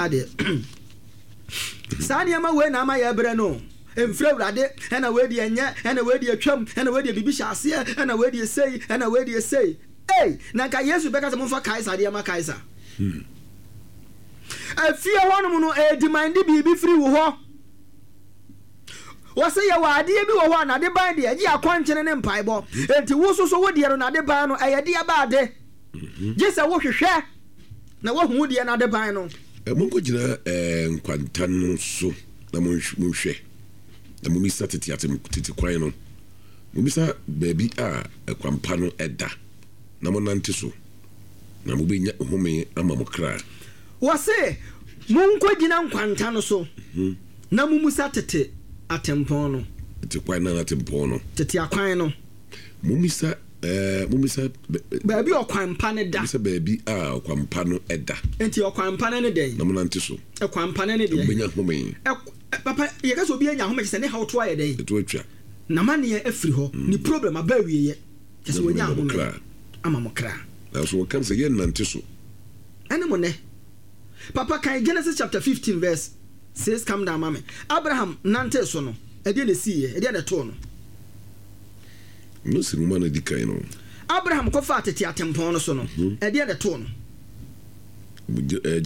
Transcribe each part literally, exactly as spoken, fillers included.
Adeɛ saa nneɛma wei na ama yɛ brɛ no. Mfiri Awurade. Ɛna wei deɛ nyɛ, ɛna wei deɛ twam, ɛna wei deɛ biribi hyɛ aseɛ, ɛna wei deɛ sei, ɛna wei deɛ sei. Ei, na nka Yesu bɛka sɛ momfa Kaesar deɛ ma Kaesar. Efie hɔnom no, ɛdemand biribi firi wo hɔ. Wɔsɛ yɛwɔ adeɛ bi wɔ hɔ a nade ban deɛ ɛgye akɔnkyene ne mpaebɔ. Enti wo soso wo deɛ no, nade ban no ɛyɛ deɛ ba ade gye sɛ wohwehwɛ na woahu wo deɛ nade ban no. Monkɔgyina nkwanta no so na monhwɛ, na mommisa tete atem tete kwan no. Mommisa baabi a ɛkwampa no da, na monante so, na mobɛnya home ama mo kra. Wɔse monkɔgyina nkwanta no so na mommisa tete atempɔn no. Tete kwan no, atempɔn no. Tete akwan no. Mommisa ɛɛ mommisa baabi a ɔkwan pa no da. Mommisa baabi a ɔkwan pa no da. Nti ɔkwan pa no ne dɛn? Na monante so. Ɛkwan pa no ne deɛ? Mobɛnya home. Papa, yɛka sɛ obi anya home, kyerɛ sɛ ne haw to ayɛ dɛn? Ɛto atwa. N'amanneɛ afiri hɔ. Ne problem aba awieɛ, kyerɛ sɛ wɔnya ahome ama mo kra. Nanso wɔka sɛ, yɛnnante so. Ɛne mo nɛ. Papa, kan Genesis chapter fifteen verse six come down ma me. Abraham nante so no, ɛdeɛ na ɛsiiɛ? Ɛdeɛ na ɛtoo no? Mose nwoma no di kan no. Abraham kɔfaa tete atempɔn no so no, ɛdeɛ na ɛtoo no?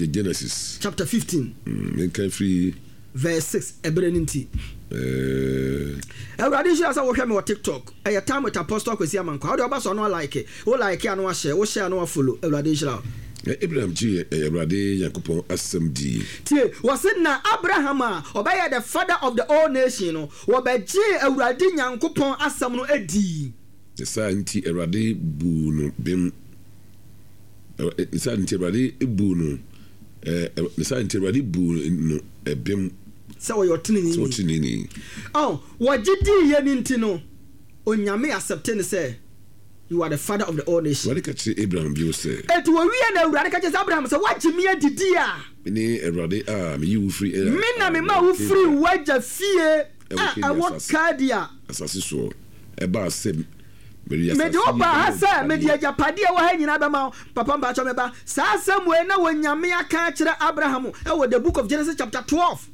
Genesis chapter fifteen. Menka firi verse six, ɛberɛ no nti. Awurade nhyira sɛ wohwɛ me wɔ TikTok. Ɛyɛ Time with Apostle Kwesi Amankwa. Wode ɔba so ano alike, wo like ano ahyɛ, wo share ano afollow. Awurade nhyira wo. Abraham gyee Awurade Nyankopɔn asɛm dii. Tie, wɔse na Abraham a ɔbɛyɛ the father of the all nation no, wɔbɛgyee Awurade Nyankopɔn asɛm no dii. Ne saa nti Awurade buu no bem. Ne saa nti Awurade buu no, ne saa nti Awurade buu no bem. Sɛ ɔyɛ ɔteneneeni. Sɛ ɔteneneeni. Oh, wɔgye diiɛ no nti no, Onyame accept no sɛ you are the father of the all nation. Awurade ka kyerɛɛ Abraham bio sɛ. Enti wɔwiee no, Awurade ka kyerɛɛ sɛ, Abraham, sɛ woagye me adidi a. Mene Awurade a meyii wo firii Ur a Me na memaa wo firii w'agya fie a ɛwɔ Kaldea. Asase soɔ. Ɛbaa sɛ mede asase Mede yi wo baa ha bɛma sɛ mede agyapadeɛ. agyapadeɛ a ɛwɔ ha nyinaa bɛma wo. Papa, mpakyɛw me ba, saa asɛm wei na Onyame aka akyerɛ Abraham wɔ the book of Genesis chapter twelve,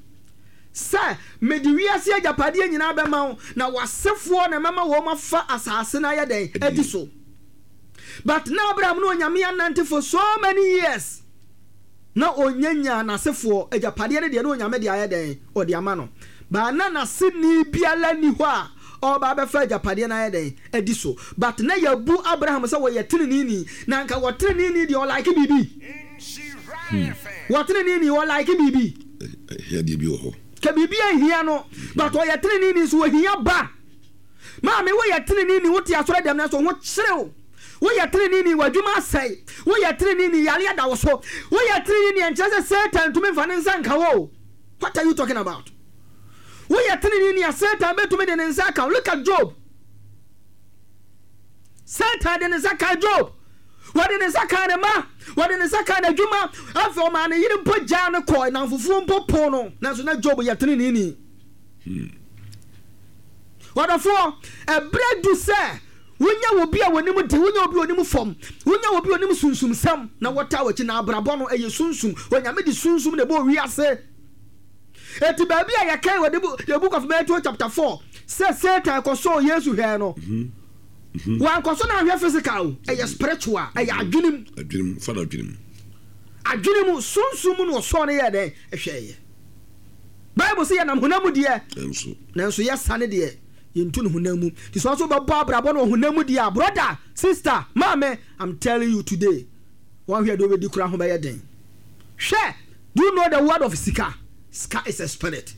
sɛ, Mede wiase agyapadeɛ nyinaa bɛma wo, na w'asefoɔ na mɛma wɔn afa asase no ayɛ dɛn? Adi so. But na Abraham ne Onyame anante for so many years, na ɔnya nyaa n'asefoɔ agyapadeɛ no deɛ, na Onyame de ayɛ dɛn? Ɔde ama no. But na n'aseni biara nni hɔ a ɔreba abɛfa agyapadeɛ no ayɛ dɛn? Adi so. But na yɛabu Abraham sɛ ɔyɛ teneneeni, na anka ɔteneneeni deɛ, ɔlike biribi. Wɔteneneeni, ɔlike biribi. Ahia deɛ bi wɔ hɔ. Ka biribi ahia no, but ɔyɛ teneneeni nso ohia ba. Maame, woyɛ teneneeni, wote asɔre dɛm nanso ho kyerew. Woyɛ teneneeni, w'adwuma asɛe. Woyɛ teneneeni, yare da wo so. Woyɛ teneneeni, ɛnkyerɛ sɛ Satan ntumi mfa ne nsa nka wo. What are you talking about? Woyɛ teneneeni a, Satan bɛtumi de ne nsa aka wo. Look at Job. Satan de ne nsa kaa Job. Wɔde ne nsa kaa ne mma, wɔde ne nsa kaa n'adwuma. Afei ɔmaa ne yere mpo gyaa no kɔɔ, nnamfofoɔ mpo poo no. Nanso na Job yɛ teneneeni. Ɔdɔfoɔ, ɛberɛ du sɛ wonya obi a wɔnim de, wonya obi a ɔnim fam, wonya obi a ɔnim sunsumsɛm na wɔtaa w'akyi. Na abrabɔ no ɛyɛ sunsum. Onyame de sunsum na ɛbɔɔ wiase. Eti baabi a yɛkan wɔ the book of Matthew chapter four sɛ Satan kɔsɔɔ Yesu hwɛɛ no, wankɔsɔ no anhwɛ physical o, ɛyɛ spiritual, ɛyɛ adwenem. Adwenem, fa no adwenem. Adwene mu, sunsum mu na ɔsɔɔ no yɛɛ dɛn? Ɛhwɛeɛ. Bible sɛ yɛnam honam mu deɛ, nanso nanso yɛsane deɛ yɛntu no honam mu. Nti sɛ ɔso bɛbɔ abrabɔ no wɔ honam mu deɛ a, brother, sister, maame, I'm telling you today, wɔnhwɛ deɛ wobɛdi koraa ho bɛyɛ den. Hwɛ, do you know the word of sika? Sika is a spirit.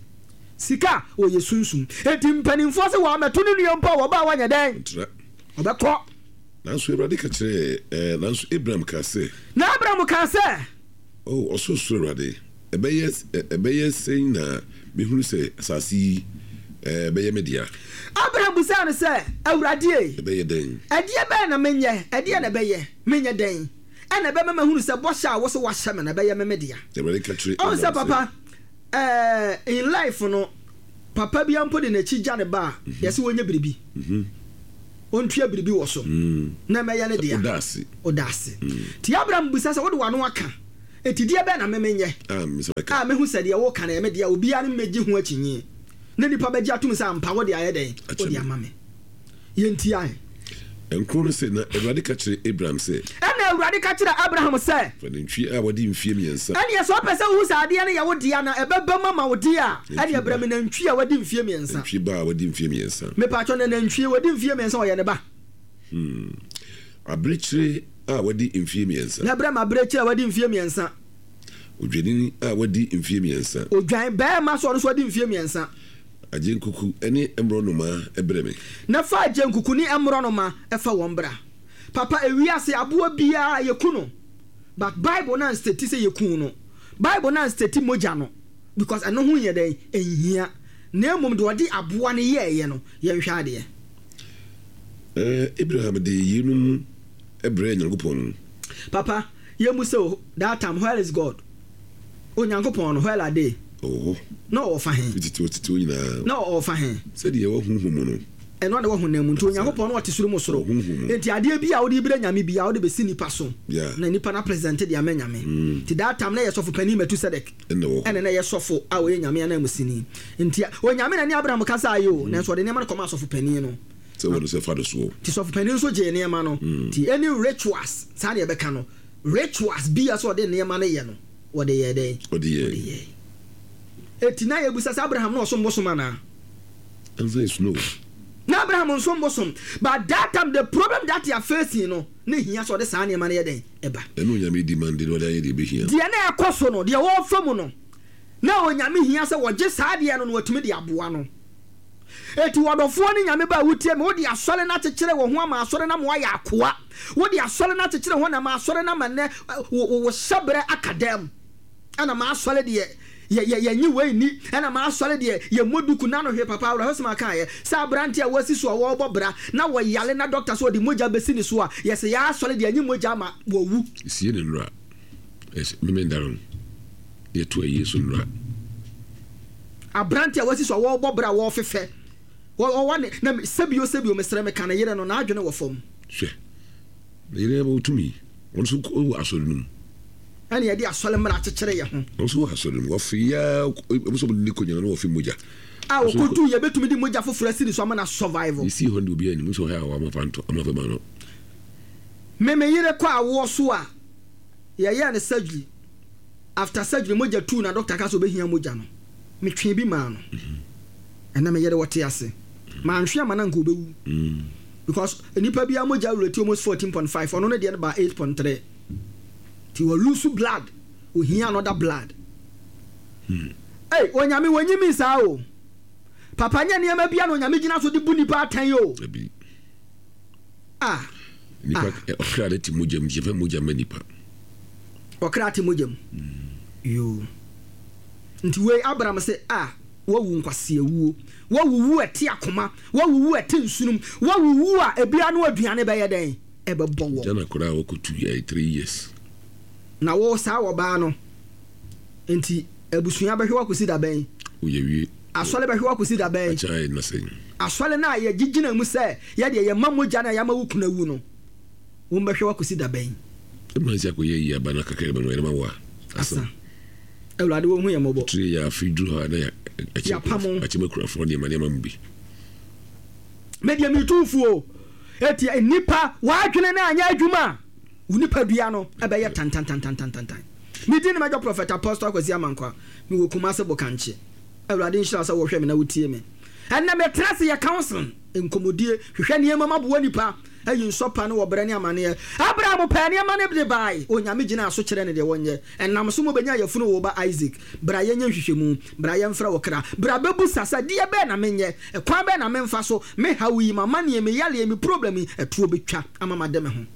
Sika wɔyɛ sunsum. Enti mpanimfoɔ sɛ wɔamɛto ne nua mpo a, wɔba a wɔnyɛ dɛn? Ntra. Ɔbɛkɔ. Nanso Awurade ka kyerɛɛ ɛɛ nanso Abraham kaa sɛ. Na Abraham kaa sɛ. O Ɔsorosoro Awurade, ɛbɛyɛ ɛbɛyɛ sɛn na mehunu sɛ asase yi ɛɛ bɛyɛ me dea? Abraham bisaa no sɛ, Awurade ei, Ɛbɛyɛ dɛn? ɛdeɛ bɛn na menyɛ? Ɛdeɛn na ɛbɛyɛ? Menyɛ dɛn ɛna ɛbɛma mahunu sɛ bɔhyɛ a wose woahyɛ me no ɛbɛyɛ me me dea? Awurade ka kyerɛɛ Ɔhu Abraham sɛ sɛ. papa, ɛɛ in life no, papa biara mpo de n'akyi gya ne ba a, yɛse wɔnyɛ biribi. Ɔntua biribi wɔ so na ɛmɛyɛ ne dea. Ɔda ase. Ɔda ase. Nti Abraham bisa sɛ, wode w'ano aka, Eti deɛ bɛn na me menyɛ a me nsa bɛka? A mehu sɛ deɛ woka no ɛyɛ me dea, obiara ne mmɛgye ho akyinnye, na nnipa bɛgye atom sɛ ampa wode ayɛ dɛn? Akyɛ Wode me. ama me. Yɛntie ahe? Nkron no se, Na Awurade ka kyerɛɛ Abraham sɛ. Ɛnna Awurade ka kyerɛɛ Abraham sɛ. Fa nantwie a wadi mfeɛ mmiɛnsa. Ɛnneɛ sɛ wopɛ sɛ wohu sɛ adeɛ no yɛ wo dea na ɛbɛba mu ama wo deɛ a, Nantwie ɛnneɛ brɛ ba. me nantwie a wadi mfeɛ mmiɛnsa. Nantwie ba a wadi mfeɛ mmiɛnsa. Mepakyɛ, na nantwie wadi mfeɛ mmiɛnsa ɔyɛ ne ba? Hmm. Abirekyire a wadi mfeɛ mmiɛnsa. Na brɛ me abirekyire a wadi mfeɛ mmiɛnsa. Odwennini a wadi mfeɛ mmiɛnsa. Odwan barima nso a ɔno nso wadi mfeɛ mmiɛnsa. Agyenkuku ne mmorɔnoma brɛ me. Na fa agyenkuku ne mmorɔnoma fa wɔn bra. Papa, ewiase aboa biara yɛku no, but Bible no anstati sɛ yɛku no. Bible no anstati mogya no because ɛno ho nyɛ dɛn? Ɛnhia. Na mmom deɛ ɔde aboa no yɛeɛ no, yɛnhwɛ adeɛ. Abraham de yeinom brɛɛ Nyankopɔn. Papa, yɛmmu sɛ o, that time where is God? Onyankopɔn no, where are they? Ɔwɔ hɔ. Na ɔwɔ fa he? Fiti tete hɔ nyinaa. Na ɔwɔ fa he? Sɛdeɛ ɛwɔ honhom mu no. Ɛno na ɛwɔ honam mu. Nti Onyankopɔn no ɔte soro mu soro. Ɔwɔ honhom mu. Nti adeɛ bi a wode brɛ Nyame biara, wode bɛsi nipa so. Yeah. Na nipa no apresente de ama Nyame. Nti that time na ɛyɛ sɔfo panin Metusedek. Ɛna ɛwɔ hɔ. Ɛna na ɛyɛ sɔfo a ɔyɛ Nyame ananmusini. Nti Onyame na ne Abraham kasaeɛ o, nanso ɔde nneɛma no kɔmaa sɔfo panin no. Sɛ wɔde sɛ fa no soɔ. Nti sɔfo panin nso gyee nneɛma no. Nti any rituals, saa na yɛbɛka no, rituals bi a sɛ ɔde nneɛma no yɛ no, wɔde yɛɛ dɛn? Ɔde yɛɛ. Ɔde yɛɛ. Eti na yɛbusa sɛ Abraham na ɔsom bosom anaa? Answer is no. Na Abraham nsom bosom. But that time the problem that they are facing no, na ehia sɛ ɔde saa nneɛma no yɛ dɛn? Ɛba. Ɛna Onyame demand na ɔde ayɛ deɛ ɛbɛhia. Deɛ na ɛkɔ so no, deɛ wɔrefa mu no, na Onyame hia sɛ wɔgye saa adeɛ no na watumi de aboa no. Eti ɔdɔfoɔ ne Nyame ba a wotie me, wode asɔre no akyekyere wo ho ama asɔre no ama woayɛ akoa. Wode asɔre no akyekyere ho na ama asɔre no ama nnɛ wo wo hyɛberɛ aka dam. Ɛna m'asɔre deɛ yɛ yɛ yɛnye wei nni, ɛna m'asɔre deɛ yɛmmɔ duku na no hwee. Papa awerɛhosɛm a kaeɛ sɛ aberanteɛ a wɔasi so a wɔrebɔ bra na wɔyare na dɔkta sɛ ɔde mogya bɛsi ne so a, yɛsɛ yɛn asɔre deɛ ɛnye mogya ama wɔwu. Sie ne nnora ɛsɛ memenda no yɛto ayie so nnora. Aberanteɛ a wɔasi so a wɔrebɔ bra a wɔrefefɛ wɔwɔ ne na sɛbio sɛbio mesrɛ meka ne yere no n'adwene wɔ fam. Hwɛ, ne yere wɔ tumi, ɔno nso wɔ asɔre no mu. Ɛne yɛde asɔre mmara akyekyere yɛ ho. Ɔno nso wɔ asɔre no mu, wɔfe yaa ɛmu sɛ ɔmo ne kɔnyina no wɔfe mogya. A wɔkɔdu yɛbɛtumi de mogya foforɔ asi ne so ama no survival. Yɛsii hɔ no de obiara anim sɛ ɔhɛ a wɔama fa ntɔ ama fɛ ma no. Me me yere kɔ awoɔ so a yɛyɛɛ no surgery, after surgery mogya tuu na doctor ka sɛ ɔbɛhia mogya no, metwee bi maa no. Ɛnɛ me yere wɔte ase, manhwe ama no anka ɔbɛwu because nipa biara mogya rate almost fourteen point five, ɔno ne deɛ no baa eight point three, nti wɔ lose blood, ohia another blood. Ei, Onyame wɔnyi mi saa o. Papa, nyɛ nneɛma bia na Onyame gyina so de bu nipa atɛn o. Dabi. Ah. Nipa ɔkra ne te mogya mu, yɛfɛ mogya ma nipa. Ɔkra te mogya mu. Yoo. Nti wei Abraham sɛ a wawu nkwasiawuo, wawuwu ɛte akoma, wawuwu ɛte nsunum, wawuwu a ebia no aduane bɛyɛ dɛn? Ɛbɛbɔ wɔ. Jana koraa wɔkɔtu yɛ three years. Na wo saa wɔbaa no nti abusua bɛhwɛ wakɔsi da bɛn? Woyɛ wie. Asɔre bɛhwɛ wakɔsi da bɛn? Akyɛ ayɛ na sɛn. Asɔre no a yɛgyegyina mu sɛ yɛdeɛ yɛma mogya no a yɛama wo kunu awu no, wɔn bɛhwɛ wakɔsi da bɛn? Ɛma nsi akɔyɛ yi aba na kakra bɛn wɔyɛ ma wo a. Asa. Awurade wɔn ho yɛ mmɔbɔ. Tiri yɛ afi duru hɔ a na yɛ Yɛapam. akyɛ makurafoɔ nneɛma nneɛma mu bi. Medeɛ metumfuo eti nipa wadwene no anyɛ adwuma a wo nipadua no ɛbɛyɛ tantantantantantan. Medi ne mɛdɔ Prophet Apostle Akwasi Amankwa, mewɔ Kumase Bokankye. Awurade nhyira sɛ wɔhwɛ me na wotie me. Ɛnnɛ metra ase yɛ counseling, nkɔmmɔdie, hwehwɛ nneɛma ma boa nipa ayi nsɔpa ne wɔbrɛ ne amanneɛ. Abraham pɛɛ nneɛma no de bae, Onyame gyinaa so kyerɛ ne deɛ wɔnyɛ. Ɛnam so ma obɛnya yafunu wo ba Isaac. Bra yɛnyɛ nhwehwɛmu, bra yɛmfrɛ wo kra, bra bɛbusa sɛ deɛ bɛɛ na menyɛ, ɛkwan bɛɛ na memfa so, me haw yi, m'amanneɛ, me yaleɛ, me problem yi, ɛtoɔ bɛtwa ama made me ho.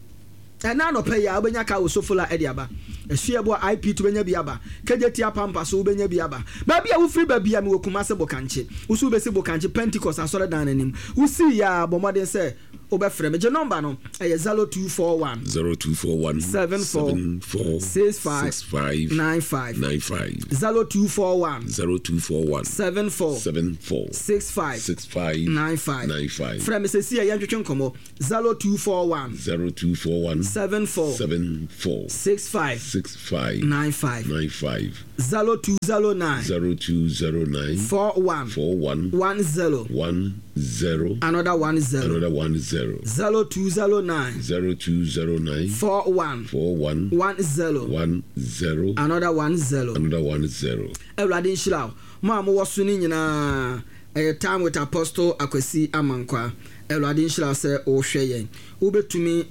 Ɛna anɔpa yi a wobɛnya kaa wɔ Sofola ɛde aba Asuaboa I P to bɛnya bi aba K J T Apampa so wobɛnya bi aba. Baabi a wofiri baabi a mewɔ Kumase Bokankye. Wo so wobɛsi Bokankye Pentecost asɔredan no anim. Wosii yɛ a bɔ mmɔden sɛ Wobɛfrɛ me. Gye nɔmba no, ɛyɛ zero two four one. Zero two four one. Seven four. Seven four. Six five. Six five. Nine five. Nine five. Zero two four one. Zero two four one. Seven four. Seven four. Six five. Six five. Nine five. Nine five. Frɛ me sɛsi a yɛntwetwe nkɔmmɔ. Zero two four one. Zero two four one. Seven four. Seven four. Six five. Six five. Nine five. Nine five. Zero two zero nine. Zero two zero nine. Four one. Four one. One zero. One zero. Another one zero. Another one zero. Zero two zero nine. Zero two zero nine. Four one. Four one. One zero. One zero. Another one zero. Another one zero. Awurade nhyira wo. Mo a mowɔ so no nyinaa, ɛyɛ Time with Apostle Akwasi Amankwa. Awurade nhyira wo sɛ wohwɛ yɛn. Wobɛtumi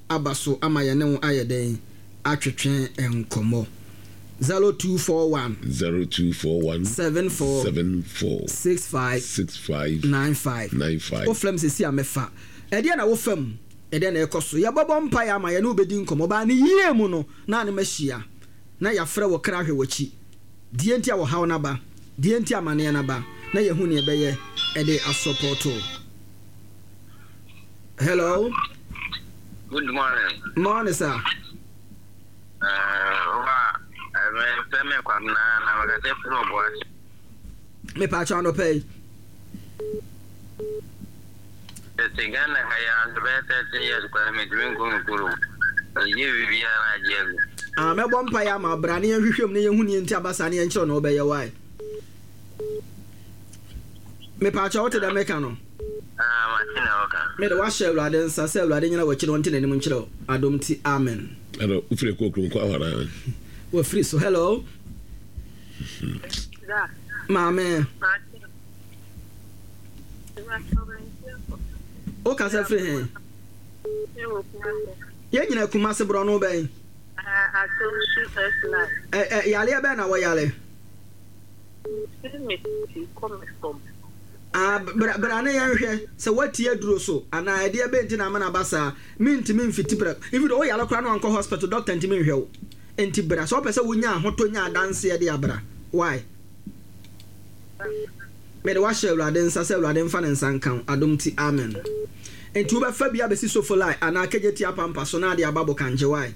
aba so ama yɛne wo ayɛ dɛn atwetwe nkɔmmɔ. zero two four one. Zero two four one. Seven four. Seven four. Six five. Six five. Nine five. Nine five. Wofrɛ me sɛsi a mɛfa. Ɛdeɛ na wofa mu, ɛdeɛ na ɛkɔ so. Yɛbɛbɔ mpaeɛ ama yɛne wobɛdi nkɔmmɔ. Baa ne yie mu no, na ne mahyia. Na yɛafrɛ wɔ kra hwɛ w'akyi. Deɛ nti a wɔhaw n'aba, deɛ nti amanneɛ n'aba, na yɛhu neɛ ɛbɛyɛ ɛde asɔpɔto. Hello. Good morning. Morning, sir. Uh, Me pa kyɛw anɔpɛ yi. Ghana ha ya bɛyɛ thirty years koraa mentumi nkɔ me kurom. Ɛgye biribiara agye agu. Ah, mɛbɔ mpaeɛ ama bra ne yɛnhwehwɛ mu ne yɛnhu neɛ nti aba saa ne yɛnkyerɛ na wobɛyɛ wae. Me pa kyɛw wote dɛ meka no. Ah, mate na wɔka. Mede wahyɛ Awurade nsa sɛ Awurade nyina w'akyi na ɔnte n'anim nkyerɛ wo. Adom nti, amen. Hello, wofiri kɔ kurom kɔ awara. Wafiri so. Hello. Maame. Wokasa firi he? Yɛn nyina Kumase borɔ no bɛn? Ɛ ɛ yareɛ bɛn na wɔyare? Ah, bra bra ne yɛnhwɛ sɛ woati aduro so anaa ɛdeɛ bɛn nti na ama no aba saa. Mentumi mfiti prɛ. Even though woyare koraa na wankɔ hospital, doctor ntumi nhwɛ wo. Nti bra sɛ wopɛ sɛ wonya ahotɔ nya adanseɛ de abra. Why? Mede wahyɛ Awurade nsa sɛ Awurade mfa ne nsa nka wo. Adom nti, amen. Nti wobɛfa bi abɛsi Sofolai anaa K J T apampa so na ade aba Bokankye. Why?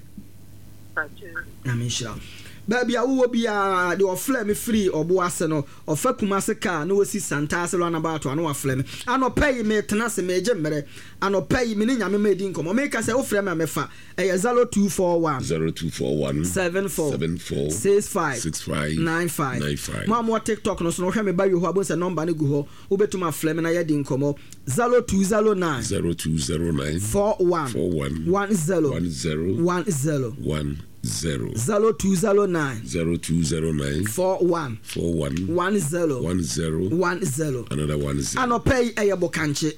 Nyame nhyira wo. Baabi a wowɔ biara deɛ ɔfrɛ me firi ɔbo ase no, ɔfa Kumase kaa na wɔsi Santaase roundabout a na wafrɛ me. Anɔpɛ yi metena ase megye mmerɛ. Anɔpɛ yi me ne Nyame ma ɛdi nkɔmmɔ. Meka sɛ wofrɛ me a mɛfa. Ɛyɛ zero two four one. Zero two four one. Seven four. Seven four. Six five. Six five. Nine five. Nine five. Mo a mowɔ TikTok no so no, wohwɛ me ba wie hɔ a, bohu sɛ nɔmba no gu hɔ. Wobɛtumi afrɛ me na yɛadi nkɔmmɔ. zero two zero nine. Zero two zero nine. Four one. Four one. One zero. One zero. One zero. One zero. zero two zero nine. Zero two zero nine. Four one. Four one. One zero. One zero. One zero. Another one zero. Anɔpɛ yi ɛyɛ Bokankye.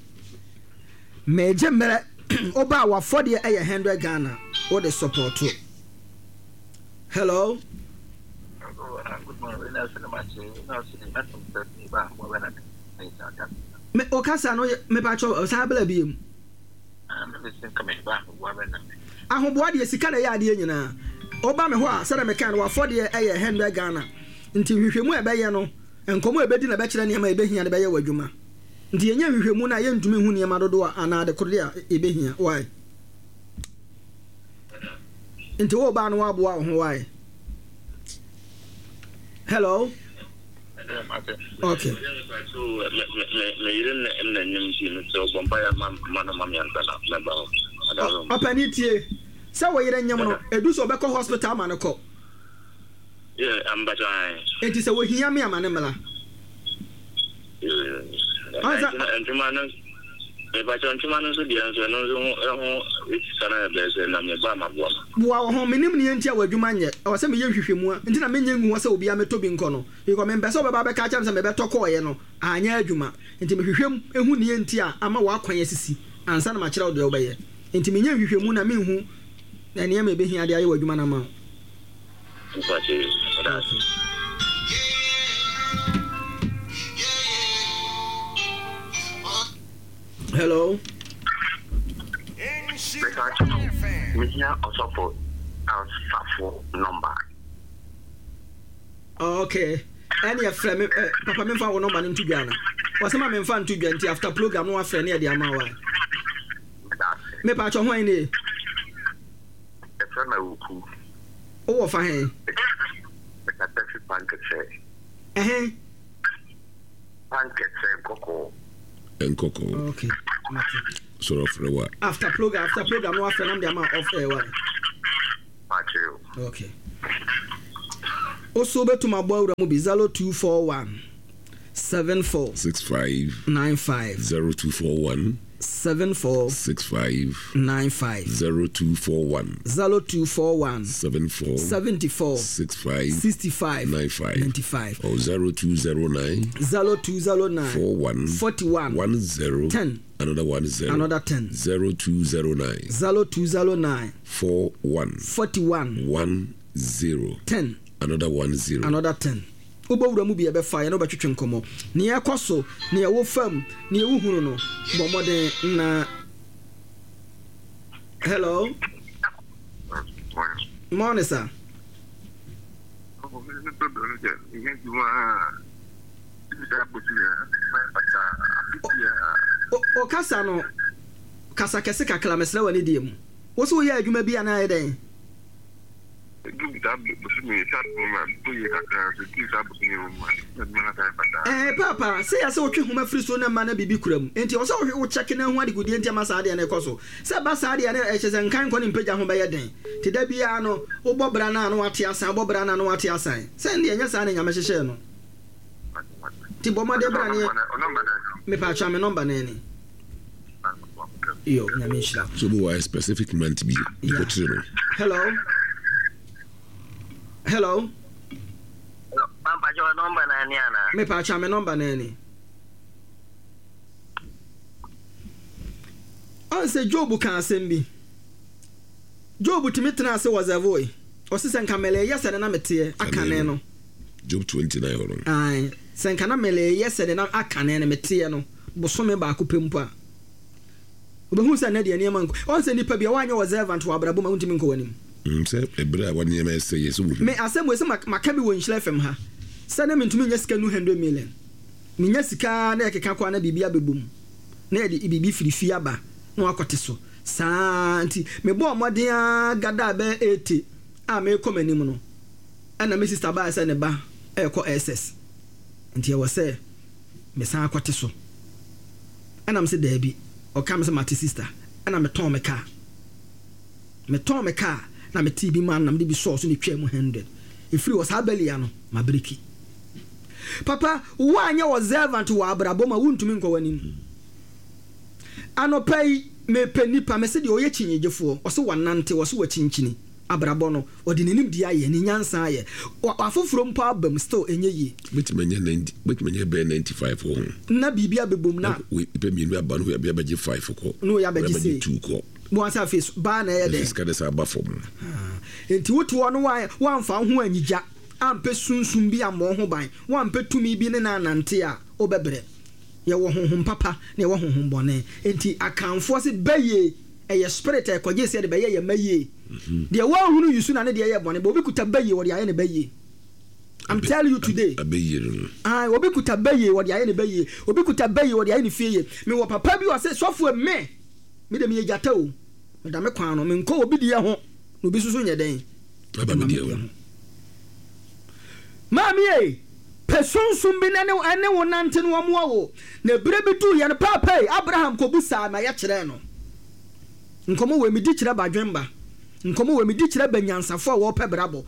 Megye mmerɛ. Woba a wafɔdeɛ ɛyɛ hundred Ghana. Wode support. Hello. Good morning. Me okasa no mepakyɛw saa bla bi mu. Ahoboa deɛ sika na ɛyɛ adeɛ nyinaa. Woba me hɔ a, sɛdeɛ meka no, wafɔdeɛ ɛyɛ hundred Ghana. Nti nhwehwɛmu a ɛbɛyɛ no, nkɔmmɔ a ɛbɛdi na ɛbɛkyerɛ nneɛma a ɛbɛhia de bɛyɛ wɔ adwuma. Nti yɛnyɛ nhwehwɛmu no a yɛntumi hu nneɛma dodoɔ a anaa ade koro a ɛbɛhia. Why? Nti wo ba no waboa wo ho. Why? Hello. Okay. Meyere n'anim nti mesɛ ɔbɔ mpaeɛ ma no ma me ansa na mɛba hɔ. Ɔpani tie sɛ wo yere nyem no, ɛdu sɛ ɔbɛkɔ hospital ama no kɔ. Enti sɛ wɔhia me ama ne mmara. Ntoma no mepakyɛ, ntoma no nso deɛ nso ɛno nso ho ho sika no ɛbɛyɛ sɛ na meba maboa ma. Boa wɔ ho. Menim neɛ nti a w'adwuma nyɛ. Ɛwɔ sɛ meyɛ nhwehwɛmu a nti na menyɛ ngu hɔ sɛ obiara mɛtɔ bi nkɔ no, because mempɛ sɛ wobɛba bɛka kyerɛ me sɛ mebɛtɔ kɔɔeɛ no anyɛ adwuma. Nti mehwehwɛ mu ɛhu neɛ nti a ama w'akwan asisi ansa na makyerɛ wo deɛ wobɛyɛ. Nti menyɛ nhwehwɛmu na menhu na nneɛma ɛbɛhia de ayɛ w'adwuma no ama wo. Mepakyɛ. Okay. Hello. Mepakyɛ, mehia ɔsɔfo asafo nɔmba. Okay, ɛne ɛfrɛ me ɛ papa memfa wo nɔmba no nto dwa no. Wɔsɛ ma memfa nto dwa, nti after program no wafrɛ ne yɛde ama wo a. Mepa kyɛw, hwan nie? Ɛfrɛ me Awuku. Wowɔ fa he? Mekasa fi Pankɛkyɛ. Ɛhe? Pankɛkyɛ Nkɔkɔɔ. Nkɔkɔɔ. Okay, mate. Sɔrɔ frɛ wa. After program, after program no wafrɛ nam de ama off air wa. Pakyɛ o. Okay. Oso wobɛtum abɔ awura mu bi zero two four one seven four six five nine five. zero two four one seven four six five nine five. zero two four one zero two four one seven four seventy-four six five sixty-five nine five ninety-five or zero two zero nine zero two zero nine four one forty-one ten ten another ten. Another ten. zero two zero nine zero two zero nine four one forty-one ten ten another ten. Another ten. Wobɛwura mu bi, ɛbɛfa yɛne wobɛtwetwe nkɔmmɔ neɛ ɛkɔ so, neɛ ɛwɔ fam, neɛ wohunu no. Bɔ mmɔden na hello, morning, sir. O- o kasa no, kasa kɛse kakra, mesrɛ w'ani deɛ mu. Wo sɛ woyɛ adwuma bi anaa yɛ dɛn? Ɛɛ, paapa, sɛ yɛ sɛ wotwe homa firi so na ma na biribi kura mu, enti ɔsɛ wohwɛ wo kyɛke na ho adegudeɛ nti ama saa adeɛ no ɛkɔ so. Sɛ ba saa adeɛ no, ɛkyɛ sɛ nkan nkɔ ne mpagya ho bɛyɛ den, nti da biara no wobɔ bra no a na wate asan, wobɔ bra no a na wate asan. Sɛ ndeɛ ɛnyɛ saa na Nyame hyehyɛɛ no, nti bɔ mmɔden bra ne mepatwa me number no ani yo. Nyame nhyira. So bi wɔ specific month bi Yeah. kɔkyerɛ no. Hello, hello. Pampakyɛ, number na ani ana? Mepatwa me number no ani. Ɔn sɛ Job ka asɛm bi, Job tumi tena ase wɔ zɛvoe, ɔse sɛ nka mɛlɛyɛ sɛ ne na meteɛ akane no. Job twenty-nine hɔ no. Ae, sɛ nka na mɛlɛyɛ sɛ ne na akane no meteɛ no bosome baako pɛ mpo a, wobɛhu sɛ nnɛ deɛ nneɛma nkɔ. Ɔn sɛ nnipa bi a woanyɛ wɔ servant wɔ abrabɔ mu a, wontumi nkɔ w'anim. Mm, sɛ ɛberɛ a wɔnneɛma ɛsɛ yɛ sɛ wohu. Me asɛm wei sɛ mak- maka bi wɔ Nhyira F M ha sɛ na mentumi nya sika nu hundred million. Menya sika na ɛkeka kɔ a na biribi abɛbɔ mu na yɛde biribi firi fie aba na wakɔte so saa. Nti mebɔɔ mmɔden a gada bɛyɛ eighty a merekɔ m'anim no, ɛna me sister baa sɛ ne ba ɛrekɔ S S, nti ɛwɔ sɛ mesan akɔte so. Ɛna me sɛ daabi, ɔka me sɛ mate sister. Ɛna metɔn me kaa, metɔn me kaa na metee bi ma no na mede bi sɔɔ so ne twaa mu hundred ɛfiri wɔ saa bɛlia no mabreki. Papa, woanyɛ wɔ servant wɔ abrabɔ ma wontumi nkɔ w'anim. Anɔpa yi mepɛ nipa mɛsɛ deɛ ɔyɛ kyinyegyefoɔ, ɔsɛ wanante, ɔsɛ wakyinkyini abrabɔ no, ɔde n'anim di ayɛ ne nyansa ayɛ Wa- afoforɔ mpo aba mu, still ɛnyɛ yie. Bɛtumi anya ninety, bɛtumi anya bɛyɛ ninety-five wɔ ho. Na biribi abɛbom na Wei pɛ mmienu aba no, wei abɛgye five kɔ. Na wei abɛgye Wei sei. two kɔ. Wɔn sɛ afei so- baa na ɛyɛ ɛfiri dɛn? Sika de sɛ aba fam. Nti wote hɔ no, wa- woamfa wo ho anyigya, ampɛ sunsum bi ammɔ wo ho ban, woampɛ tumi bi ne na anante a, wobɛbrɛ. Yɛwɔ honhom papa na yɛwɔ honhom bɔne, nti akamfoɔ se bɛyie ɛyɛ spirit a ɛkɔgye sɛ yɛde bɛyɛ yɛ ma yie. Deɛ woahunu yi so na ne deɛ yɛ bɔne bɛ obi kuta bɛyie, wɔde ayɛ ne bɛyie. I'm telling you today. Abɛyie no no. Ah, obi kuta bɛyie, wɔde ayɛ ne bɛyie. Obi kuta bɛyie, wɔde ayɛ ne fie yie. Mewɔ papa bi wɔ sɛ sɔfo me me de meyɛ gyata o, meda me kwan no, menkɔ obi deɛ ho na obi soso nyɛ dɛn. Aba me deɛ ho. Maame ye, pɛ sunsum bi na ne ɛne wo nante no wɔmmoa wo. Na ebere bi duu yɛ no, paapa yi Abraham kɔbu saa na yɛkyerɛɛ no nkɔmmɔ wɔ medi kyerɛ badwemba, nkɔmmɔ wɔ medi kyerɛ banyansafo a wɔpɛ brabɔ.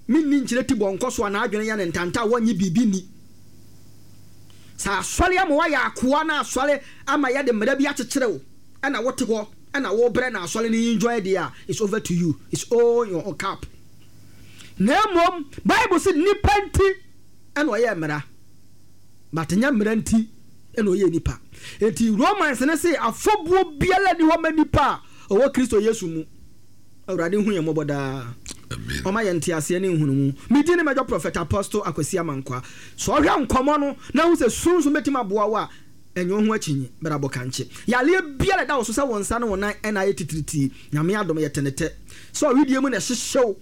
Menni nkyerɛ ti bɔ nkɔ so a n'adwene yɛ ne ntanta a wɔnye biribi ni. Sɛ asɔre ama woayɛ akoa na asɔre ama yɛde mmara bi akyekyere wo, ɛna wote hɔ ɛna wobrɛ na asɔre no enjoy deɛ a, it's over to you, it's all your cap. Na mmom Bible sɛ nipa nti ɛna ɔyɛ mmara, but nyɛ mmara nti ɛna ɔyɛ nipa. Eti Romans ne se afɔbuo biara ni hɔ ma nipa a ɔwɔ Kristo Yesu mu. Awurade hu yɛn mmɔbɔ daa. Amen. Ɔma yɛn nteaseɛ ne nhunumu. Medi ne mɛdɔ Prophet Apostle Akwasi Amankwa. Sɛ ɔhwɛ nkɔmmɔ no na hu sɛ sunsun bɛtumi aboa wo a, ɛnyɛ wo ho akyinyi brabɔ kankye. Yareɛ biara ɛda wo so sɛ wo nsa ne wo nan ɛna ayɛ titiritii, Nyame adom yɛ tenetɛ. Sɛ ɔwedie mu na ɛhyehyɛ wo,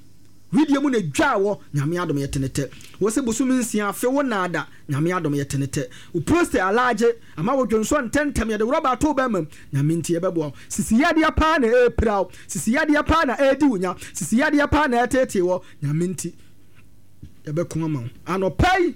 Widie mu na dwaa wɔ, Nyame adom yɛte ne tɛ. Wo se bosome nsia afe wo naada, Nyame adom yɛte ne tɛ. Wo prostate alaagye ama wo dwonsɔ ntɛntɛm, yɛde rɔba ato wo bɛɛma mu, Nyame nti yɛbɛboa wo. Sisi yadeɛ paa na ɛɛpira wo, sisi yadeɛ paa na ɛɛdi wo nya, sisi yadeɛ paa na ɛɛteetee wɔ, Nyame nti yɛbɛko ama wo. Anɔpa yi,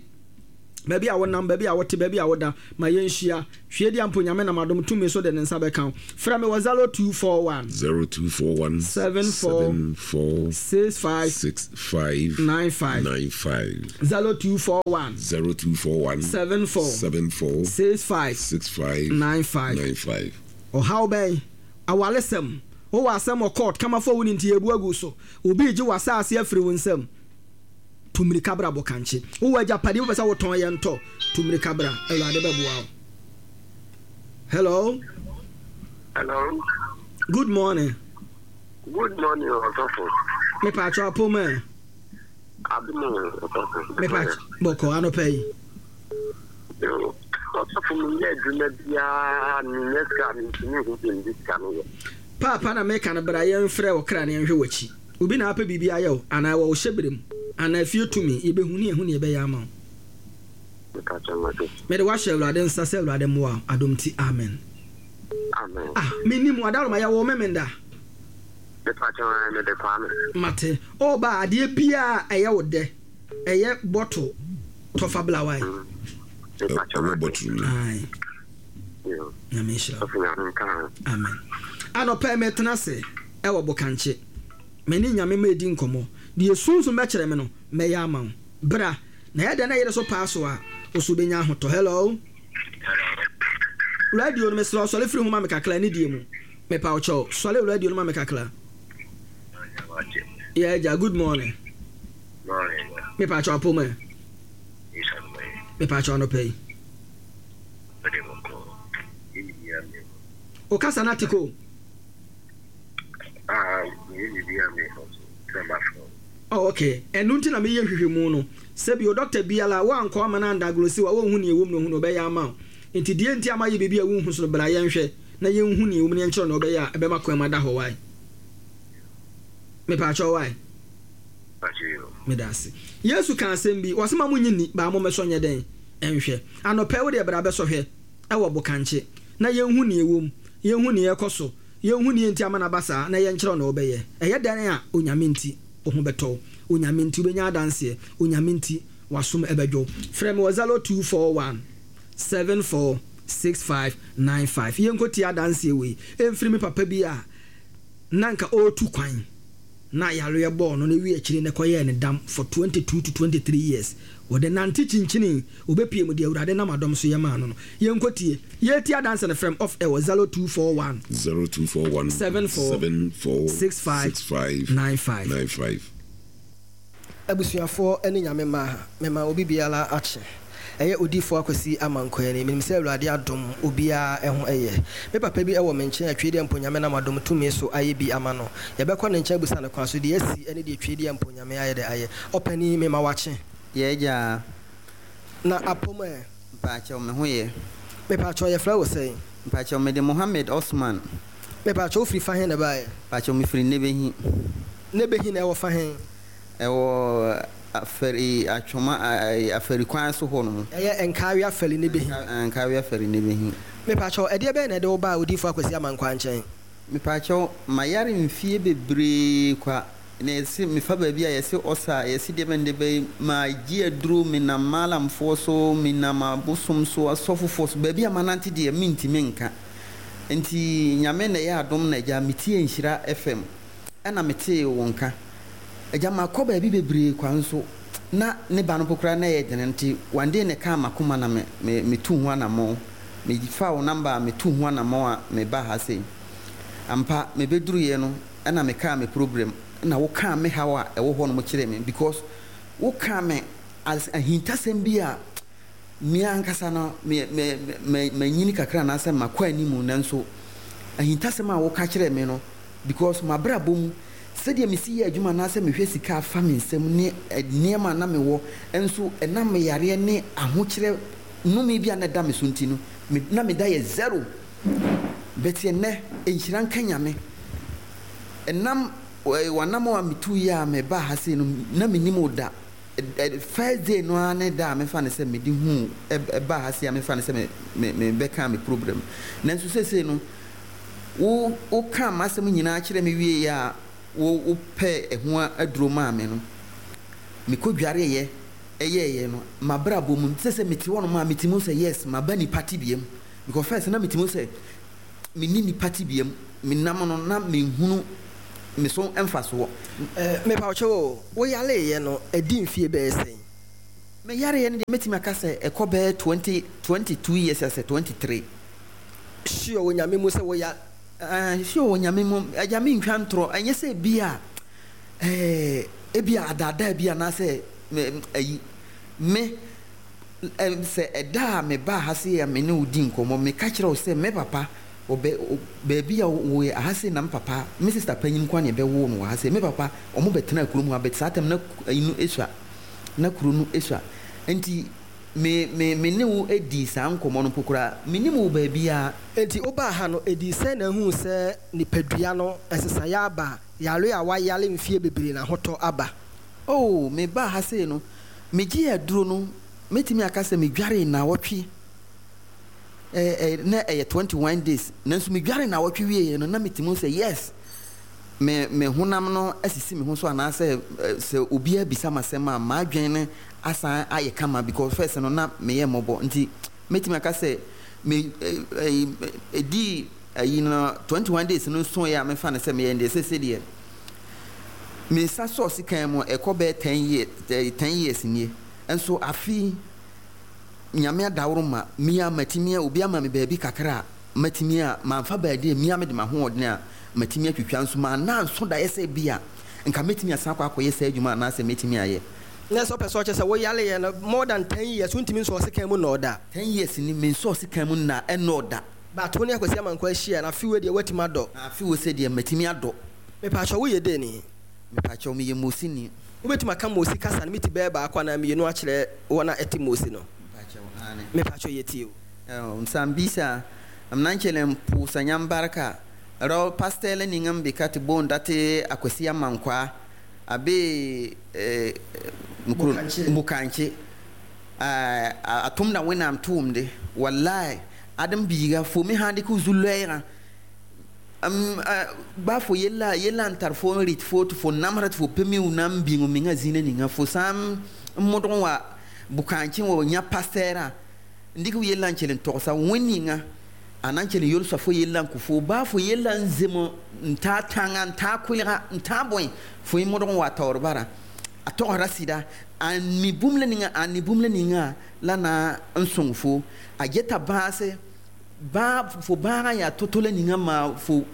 baabi a wonam, baabi a wote, baabi a woda, ma yɛnhyia. Hwie di ampo Nyame nam adom tumi so de ne nsa bɛka wo. Frɛ me wɔ zero two four one. zero two four one seven four seven four six five six five nine five nine five zero two four one zero two four one seven four seven four six five six five nine five nine five. Ɔhaw bɛn? Awaresɛm. Wowɔ asɛm wɔ court, kamafo a wonni nti yɛrebu agu so. Obi regye w'asaase afiri wo nsam. Tu mmirika bra bɔ kankye. Wowɔ agyapadeɛ wopɛ sɛ wotɔn yɛ ntɔ. Tu mmirika bra, Awurade bɛboa wo. Hello. Hello. Good morning. Good morning, Osofo. Me pacho apoma. Adumo, Osofo. Me pacho bɔkɔ anɔpa yi. Yo, Osofo mi yɛ adwuma biara mi nyɛ sika mi ntumi hu bi ndi sika no yɛ. Paapa na meka no bra yɛmfrɛ wo kra na yɛnhwɛ w'akyi. Obi na apɛ biribi ayɛ wo anaa ɛwɔ wo hyɛberɛ mu anaa fie tumi yɛbɛhu ne yɛhu ne yɛbɛyɛ ama wo. Mede wahyɛ Awurade nsa sɛ Awurade mmoa wo adom nti amen. Amen. Ah, mennim Adaworoma yɛwoo me menda. Mepakyɛ mede Kwame. Mate. Ɔba adeɛ biara ɛyɛ wo dɛ ɛyɛ bottle tɔfa bla wae. Ɛwɔ bottle mu. Aye. Nyame nhyira wo. Amen. Anɔpa yi metena ase ɛwɔ Bokankye. Me ne Nyame ma edi nkɔmmɔ. Deɛ sunsum bɛkyerɛ me no mɛyɛ ama wo. Bra. Na yɛ dɛn na yere so paa so a wo so wobɛnya ahotɔ. Hello. Radio no mesrɛ wo sɔre firi ho ma me kakra ne die mu. Mepa wo kyɛw sɔre radio no ma me kakra. Yeah, agya, good morning. Mepa kyɛw apɔ mu ɛ. Mepa kyɛw anɔpa yi. O kasa na tiko. Oh, okay. Ɛno nti na meyɛ nhwehwɛmu no. Sɛbi o doctor biara woankɔ ama no andaglose wa wonhu nea ɛwɔ mu na ohu na ɔbɛyɛ ama wo. Nti deɛ nti ama yɛ biribi a wonhu so no bra yɛnhwɛ na yɛnhu nea ɛwɔ mu na yɛnkyerɛ nea ɔbɛyɛ a ɛbɛma kwan mu ada hɔ wae. Mepaakyɛw wae. Meda ase. Yesu ka asɛm bi, ɔse ma monyi nni, baa mommɛsɔ nyɛ dɛn nhwɛ. Anɔpa yi wo deɛ bra bɛsɔ hwɛ ɛwɔ Bokankye na yɛnhu nea ɛwɔ mu, yɛnhu nea ɛkɔ so, yɛnhu nea nti ama no aba saa na yɛnkyerɛ nea ɔbɛyɛ. Ɛyɛ dɛn a Onyame nti wo ho bɛtɔ wo, Onyame nti wobɛnya adanseɛ, Onyame nti w'asom ɛbɛdwo wo. Frɛ me wɔ zero two four one seven four six five nine five. Yɛnkɔtie adanseɛ wei ɛmfiri me papa bi a na nka ɔretu kwan na yareɛ bɔɔ no na ɛwie akyire na ɛkɔyɛɛ ne dam for twenty two to twenty three years. Wɔde nante kyinkyini obɛpie mu deɛ Awurade nam adɔm so yɛ maa no no. Yɛnkɔtie. Yɛtie adanse no frɛm off air wɔ zero two four one zero two four one seven four seven four six five six five nine five nine five. Abusuafoɔ ne Nyame mma, mema obi biara akye. Ɛyɛ odiyifoɔ Akwasi Amankwaa ni. Menim sɛ Awurade adom obiara ho ɛyɛ. Me papa bi wɔ me nkyɛn a Twedeɛ mpo Nyame nam adom tumi so ayɛ bi ama no. Yɛbɛkɔ ne nkyɛn abusa no kwan so deɛ asi ne deɛ Twedeɛ mpo Nyame ayɛ dɛ ayɛ. Ɔpanin, mema wakye. Yɛ agya. Na apom ɛ? Mpaakyɛw, me ho yɛ. Mepaakyɛw, yɛfrɛ wo sɛn? Mpaakyɛw, mede Mohammed Osman. Mepaakyɛw, wofiri fa he na ɛbaeɛ? Mpaakyɛw, mefiri Nebehi. Nebehi na ɛwɔ fa he? Ɛwɔ Afari Atwoma Afari kwan so hɔ nom. Ɛyɛ Nkawe Afari Nebehi. Nkawe Afari Nebehi. Mepaakyɛw, ɛdeɛ bɛn na ɛde wo baa Odiyifoɔ Akwasi Amankwaa nkyɛn? Mepaakyɛw, mayare mfie bebree kwa. Na yɛse mefa baabi a yɛse ɔsa, yɛse deɛ bɛn deɛ bɛn, magye aduro, menam maalamfoɔ so, menam abosom so, asɔfofoɔ so, baabi a manante deɛ mentumi nka. Nti Nyame na ɛyɛ adom na agya metie Nhyira F M ɛna metee wo nka. Agya makɔ baabi bebree kwa nso na ne ba no mpo koraa na ɛyɛ dene nti one day na ɛkaa makoma na me, me, metu ho anammɔn. Mefa wo namba a metu ho anammɔn a meba ha sei. Ampa mebɛduruiɛ no ɛna mekaa me program na wokaa me haw a ɛwɔ hɔ no mo kyerɛ me because wokaa me as ahintasɛm bi a me ankasa no me me me manyini kakra anaasɛ makɔ animu nanso ahintasɛm a woka kyerɛ me no because mabrabɔ mu sɛdeɛ mesi yɛ adwuma anaasɛ mehwɛ sika afa me nsam ne nneɛma na mewɔ nso ɛnam me yareɛ ne ahokyerɛ nnome bi a na ɛda me so nti no me, na meda yɛ zero. But ɛnnɛ nhyira nka Nyame ɛnam W'anammɔn a mituui a mebaa ha sei no, na minnim wo da. First day no ara ne da a mefa no sɛ mede huu baa ha sei a mefa no sɛ mebɛkaa me problem. Nanso seesei no, wo wokaa m'asɛm nyinaa kyerɛɛ me wieeɛ a wo wopɛɛ ɛho aduro maa me no, mekɔdwareeɛ yɛeɛ no, m'abrabɔ mu no, seesei mete hɔnom a metumi hu sɛ yes, maba nnipa tebea mu. Because first na metumi hu sɛ menni nnipa tebea mu, menam no na menhunu me so mfasoɔ. Mepawokyɛw o, wo yareeɛ no adi mfie bɛyɛ sɛn? Me yareɛ no deɛ mɛtumi aka sɛ ɛkɔ bɛyɛ twenty, twenty two years asɛ twenty three. Sure wɔ Nyame mu sɛ wo ya. Aah sure wɔ Nyame mu, agya mentwa ntorɔ, ɛnyɛ sɛ ebia ɛɛ ebia adaadaa bi anaasɛ me ayi, me sɛ ɛda a mebaa ha sei a me ne wo di nkɔmmɔ, meka kyerɛ wo sɛ me papa Wɔ bɛ baabi a wɔ yɛ aha sei na me papa, me sister panyin nko ara na yɛbɛwoo no wɔ ha sei. Me papa, wɔn bɛtenaa kurom ha but saa time na ayi no esua, na kuro no esua. Nti me me me ne wo dii saa nkɔmmɔ no mpo koraa, mennim wo baabiara. Enti wobaa ha no, edii sɛn na ehuu sɛ nipadua no nsesaeɛ aba, yare a woayare mfeɛ bebree no ahotɔ aba? Oh, mebaa ha sei no, megyee aduro no, mɛtumi aka sɛ medwaree nnawɔtwe. eh, na ɛyɛ twenty one days nanso medware nnawɔtwe wieɛ no na metumi hu sɛ yes me me honam no asisi me ho so anaasɛ sɛ obiara bisa m'asɛm a m'adwene no asan ayɛ kama because first no na meyɛ mmɔbɔ nti mɛtumi aka sɛ me ɛdii ayi no twenty one days no soeɛ a mefa no sɛ meyɛ deɛ sɛsɛ deɛ me nsa sɔɔ sekan mu ɛkɔ bɛyɛ ten years ten years nie nso afe Nyame adaworoma, me a matumi a obi ama me baabi kakra a matumi a manfa baabi a mia mede m'ahoɔden a matumi atwitwa nso manna anso daeɛ sɛ ebia nka mɛtumi asan akɔ akɔyɛ saa adwuma anaasɛ mɛtumi ayɛ. Na sɛ wopɛ sɛ ɔkyerɛ sɛ woyareɛ no more than ten years wontumi nsɔɔ sekan mu nnɔɔ da. Ten years ni mensɔɔ sekan mu nna ɛnnɔɔ da. But wo ne Akwasi Amankwah ahyia no afe wei deɛ woatumi adɔ. Afe wei sɛ deɛ matumi adɔ. Mepaakyɛw woyɛ dɛn ni? Mepaakyɛw meyɛ Mosini. Wobɛtumi aka Mose kasa no miti bɛyɛ baako anaa mmienu akyerɛ wɔn a ɛte Mose no? Mepakyɛw, aane. Mepakyɛw, yɛtie wo. Oh, Nsambisa, Mnancele mpusa nyambarka, rɔ pastɛlɛ niŋa mbika te boon date Akwasi Amankwaa, abe eh, mkuro, Bukankye, eh, a tumda Wẽnnaam tʋʋmde, wallai, ad m biiga, fo me sãn dɩk f zu-loɛɛgã m ba fo yella yella n tar fo n rɩt fo tɩ fo namsra tɩ fo pe mi na n bĩng menga zĩnã ninga fo sã n modg n wa bʋkãankẽ wa yã pastɛɛrã n dɩk f yella n kell n togsa wẽn ninga a na n kell n yolsa fo yella n kõ fo baa fo yella n zem n taa tãnga n taa kʋɩlga n tãa bõe fo yẽ modg n wa taoor bara a togsda sɩda a mi bũmb la ninga a ni bũmb la ninga la na n sõng fo a geta bãase bãag fo bãagã yaa to-to la ninga maa fo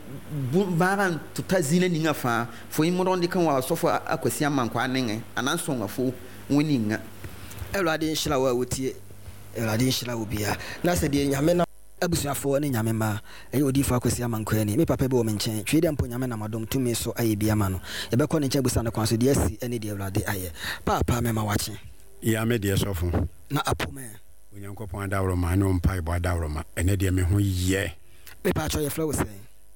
bãagã n tɩ ta zĩnã ninga fãa fo yẽ modg n dɩk n wa sofo Akwasi Amankwaa nengẽ a na n sõnga fo wẽ ninga. Awurade nhyira wo a wotie. Awurade nhyira wo bia. Na sɛ deɛ Nyame nam. Abusuafoɔ ne Nyame mma, ɛyɛ Odiyifoɔ Akwasi Amankwaa ni. Me papa bi wɔ me nkyɛn, twi dɛ mpo Nyame nam adom tumi so ayɛ bi ama no. Yɛbɛkɔ ne nkyɛn abusa no kwan so deɛ asi ne deɛ Awurade ayɛ. Paapa mema wakye. Ya me deɛ sɔfo. Na apo me. Onyankopɔn adaworoma ne wo mpaebɔ adaworoma, ɛnɛ deɛ me ho yɛ. Mepaakyɛw yɛfrɛ wo sɛn?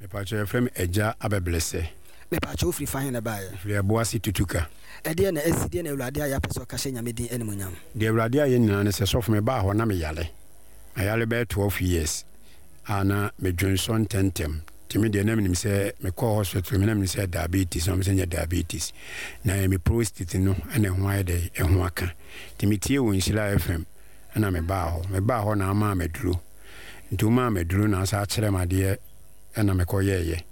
Mepaakyɛw yɛfrɛ me Agya Abɛbrɛsɛ. Mepaakyɛw wofiri fa he na ɛbaeɛ? Mefiri Ɛboase Tutuka. Ɛdeɛn na asi? Deɛn na Awurade ayɛ apɛ sɛ ɔka hyɛ Nyame din animuonyam? Deɛ Awurade ayɛ nyinaa ne sɛ, sɔfo mebaa hɔ na meyare. Mayare bɛyɛ twelve years a na medwonsɔ ntɛntɛm. Nti me deɛ na menim sɛ mekɔɔ hospital me na menim sɛ diabetes na wɔn sɛ nyɛ diabetes. Na ɛyɛ me prostate no na ɛho ayɛ dɛ ɛho aka. Nti metiee wɔ Nhyira F M ɛna mebaa hɔ. Mebaa hɔ na amaa me aduro. Nti womaa me aduro na asan akyerɛ me adeɛ ɛna mekɔyɛɛyɛ.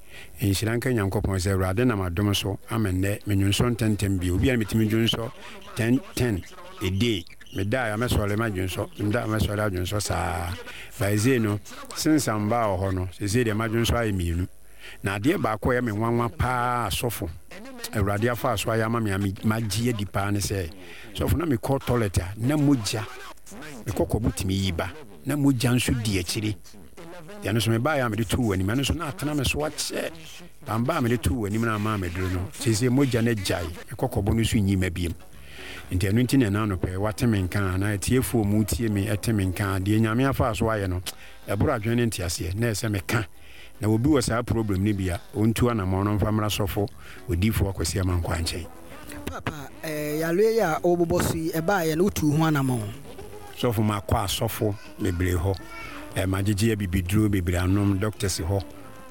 Nhyira nka Nyankopɔn sɛ Awurade nam adom so ama nnɛ menwonsɔ ntɛntɛm bio. Obi a na metumi dwonsɔ ten ten a day. Medaeɛ a mɛsɔre madwonsɔ, meda a mɛsɔre adwonsɔ saa. But seesei no, since a mebaa wɔ hɔ no, seesei deɛ madwonsɔ ayɛ mmienu. Na adeɛ baako a ɛyɛ me nwanwa paa sɔfo, Awurade afa so ayɛ ama me a magye adi paa ne sɛ, sɔfo na mekɔ toilet a na mogya, mekɔ kɔbo tumi yi ba, na mogya nso di akyire. Deɛ no nso mebaeɛ a mede too w'anim, ɛno nso na atena me so akyɛ. Bamba a mede too w'anim no amaa meduro no, seesei mogya no agyae, mekɔ kɔbo no so nyi ma biem. Nti ɛno nti na ɛna anɔpɛ yi wate me nka anaa atiefoɔ mu tie me ɛte me nka deɛ Nyame afa so ayɛ no, ɛboro adwene ne nteaseɛ, na ɛsɛ meka. Na obi wɔ saa problem no bi a, ɔntu anammɔn no mfa mmra sɔfo odiyifoɔ Akwasi Amankwaa nkyɛn. Paapa, eh, yareɛ yi a wobobɔ so yi, ɛbaeɛ no, wotuu ho anammɔn? Sɔfo, makɔ asɔfo bebree hɔ, eh, magyegye abibiduro bebree anom, doctors hɔ,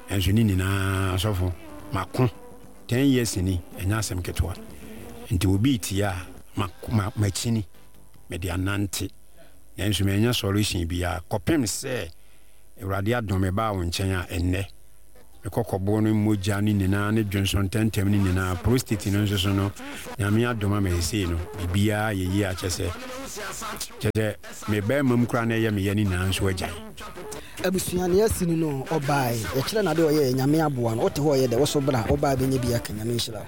nanso ne nyinaa, sɔfo, mako. Ten years ni, ɛnyɛ asɛm ketewa. Nti obi retie a, ma, ma, makyini, mede anante, nanso mannya solution biara, kɔpem sɛ Awurade adom mebaa wo nkyɛn a, ɛnnɛ, me kɔkɔboɔ no mogya no nyinaa ne dwonsɔ ntɛmntɛm no nyinaa, prostate no nso so no, Nyame adom ama seesei no, biribiara yɛ yie a kyerɛ sɛ, kyerɛ sɛ me barima mu koraa na ɛyɛ me ya no nyinaa nso agyae. Abusua nea asi no no ɔbae yɛkyerɛ no ade ɔyɛɛ Nyame aboa no wote hɔ ɔyɛ dɛ woso bra wobaa bɛnya bi aka Nyame nhyira wo.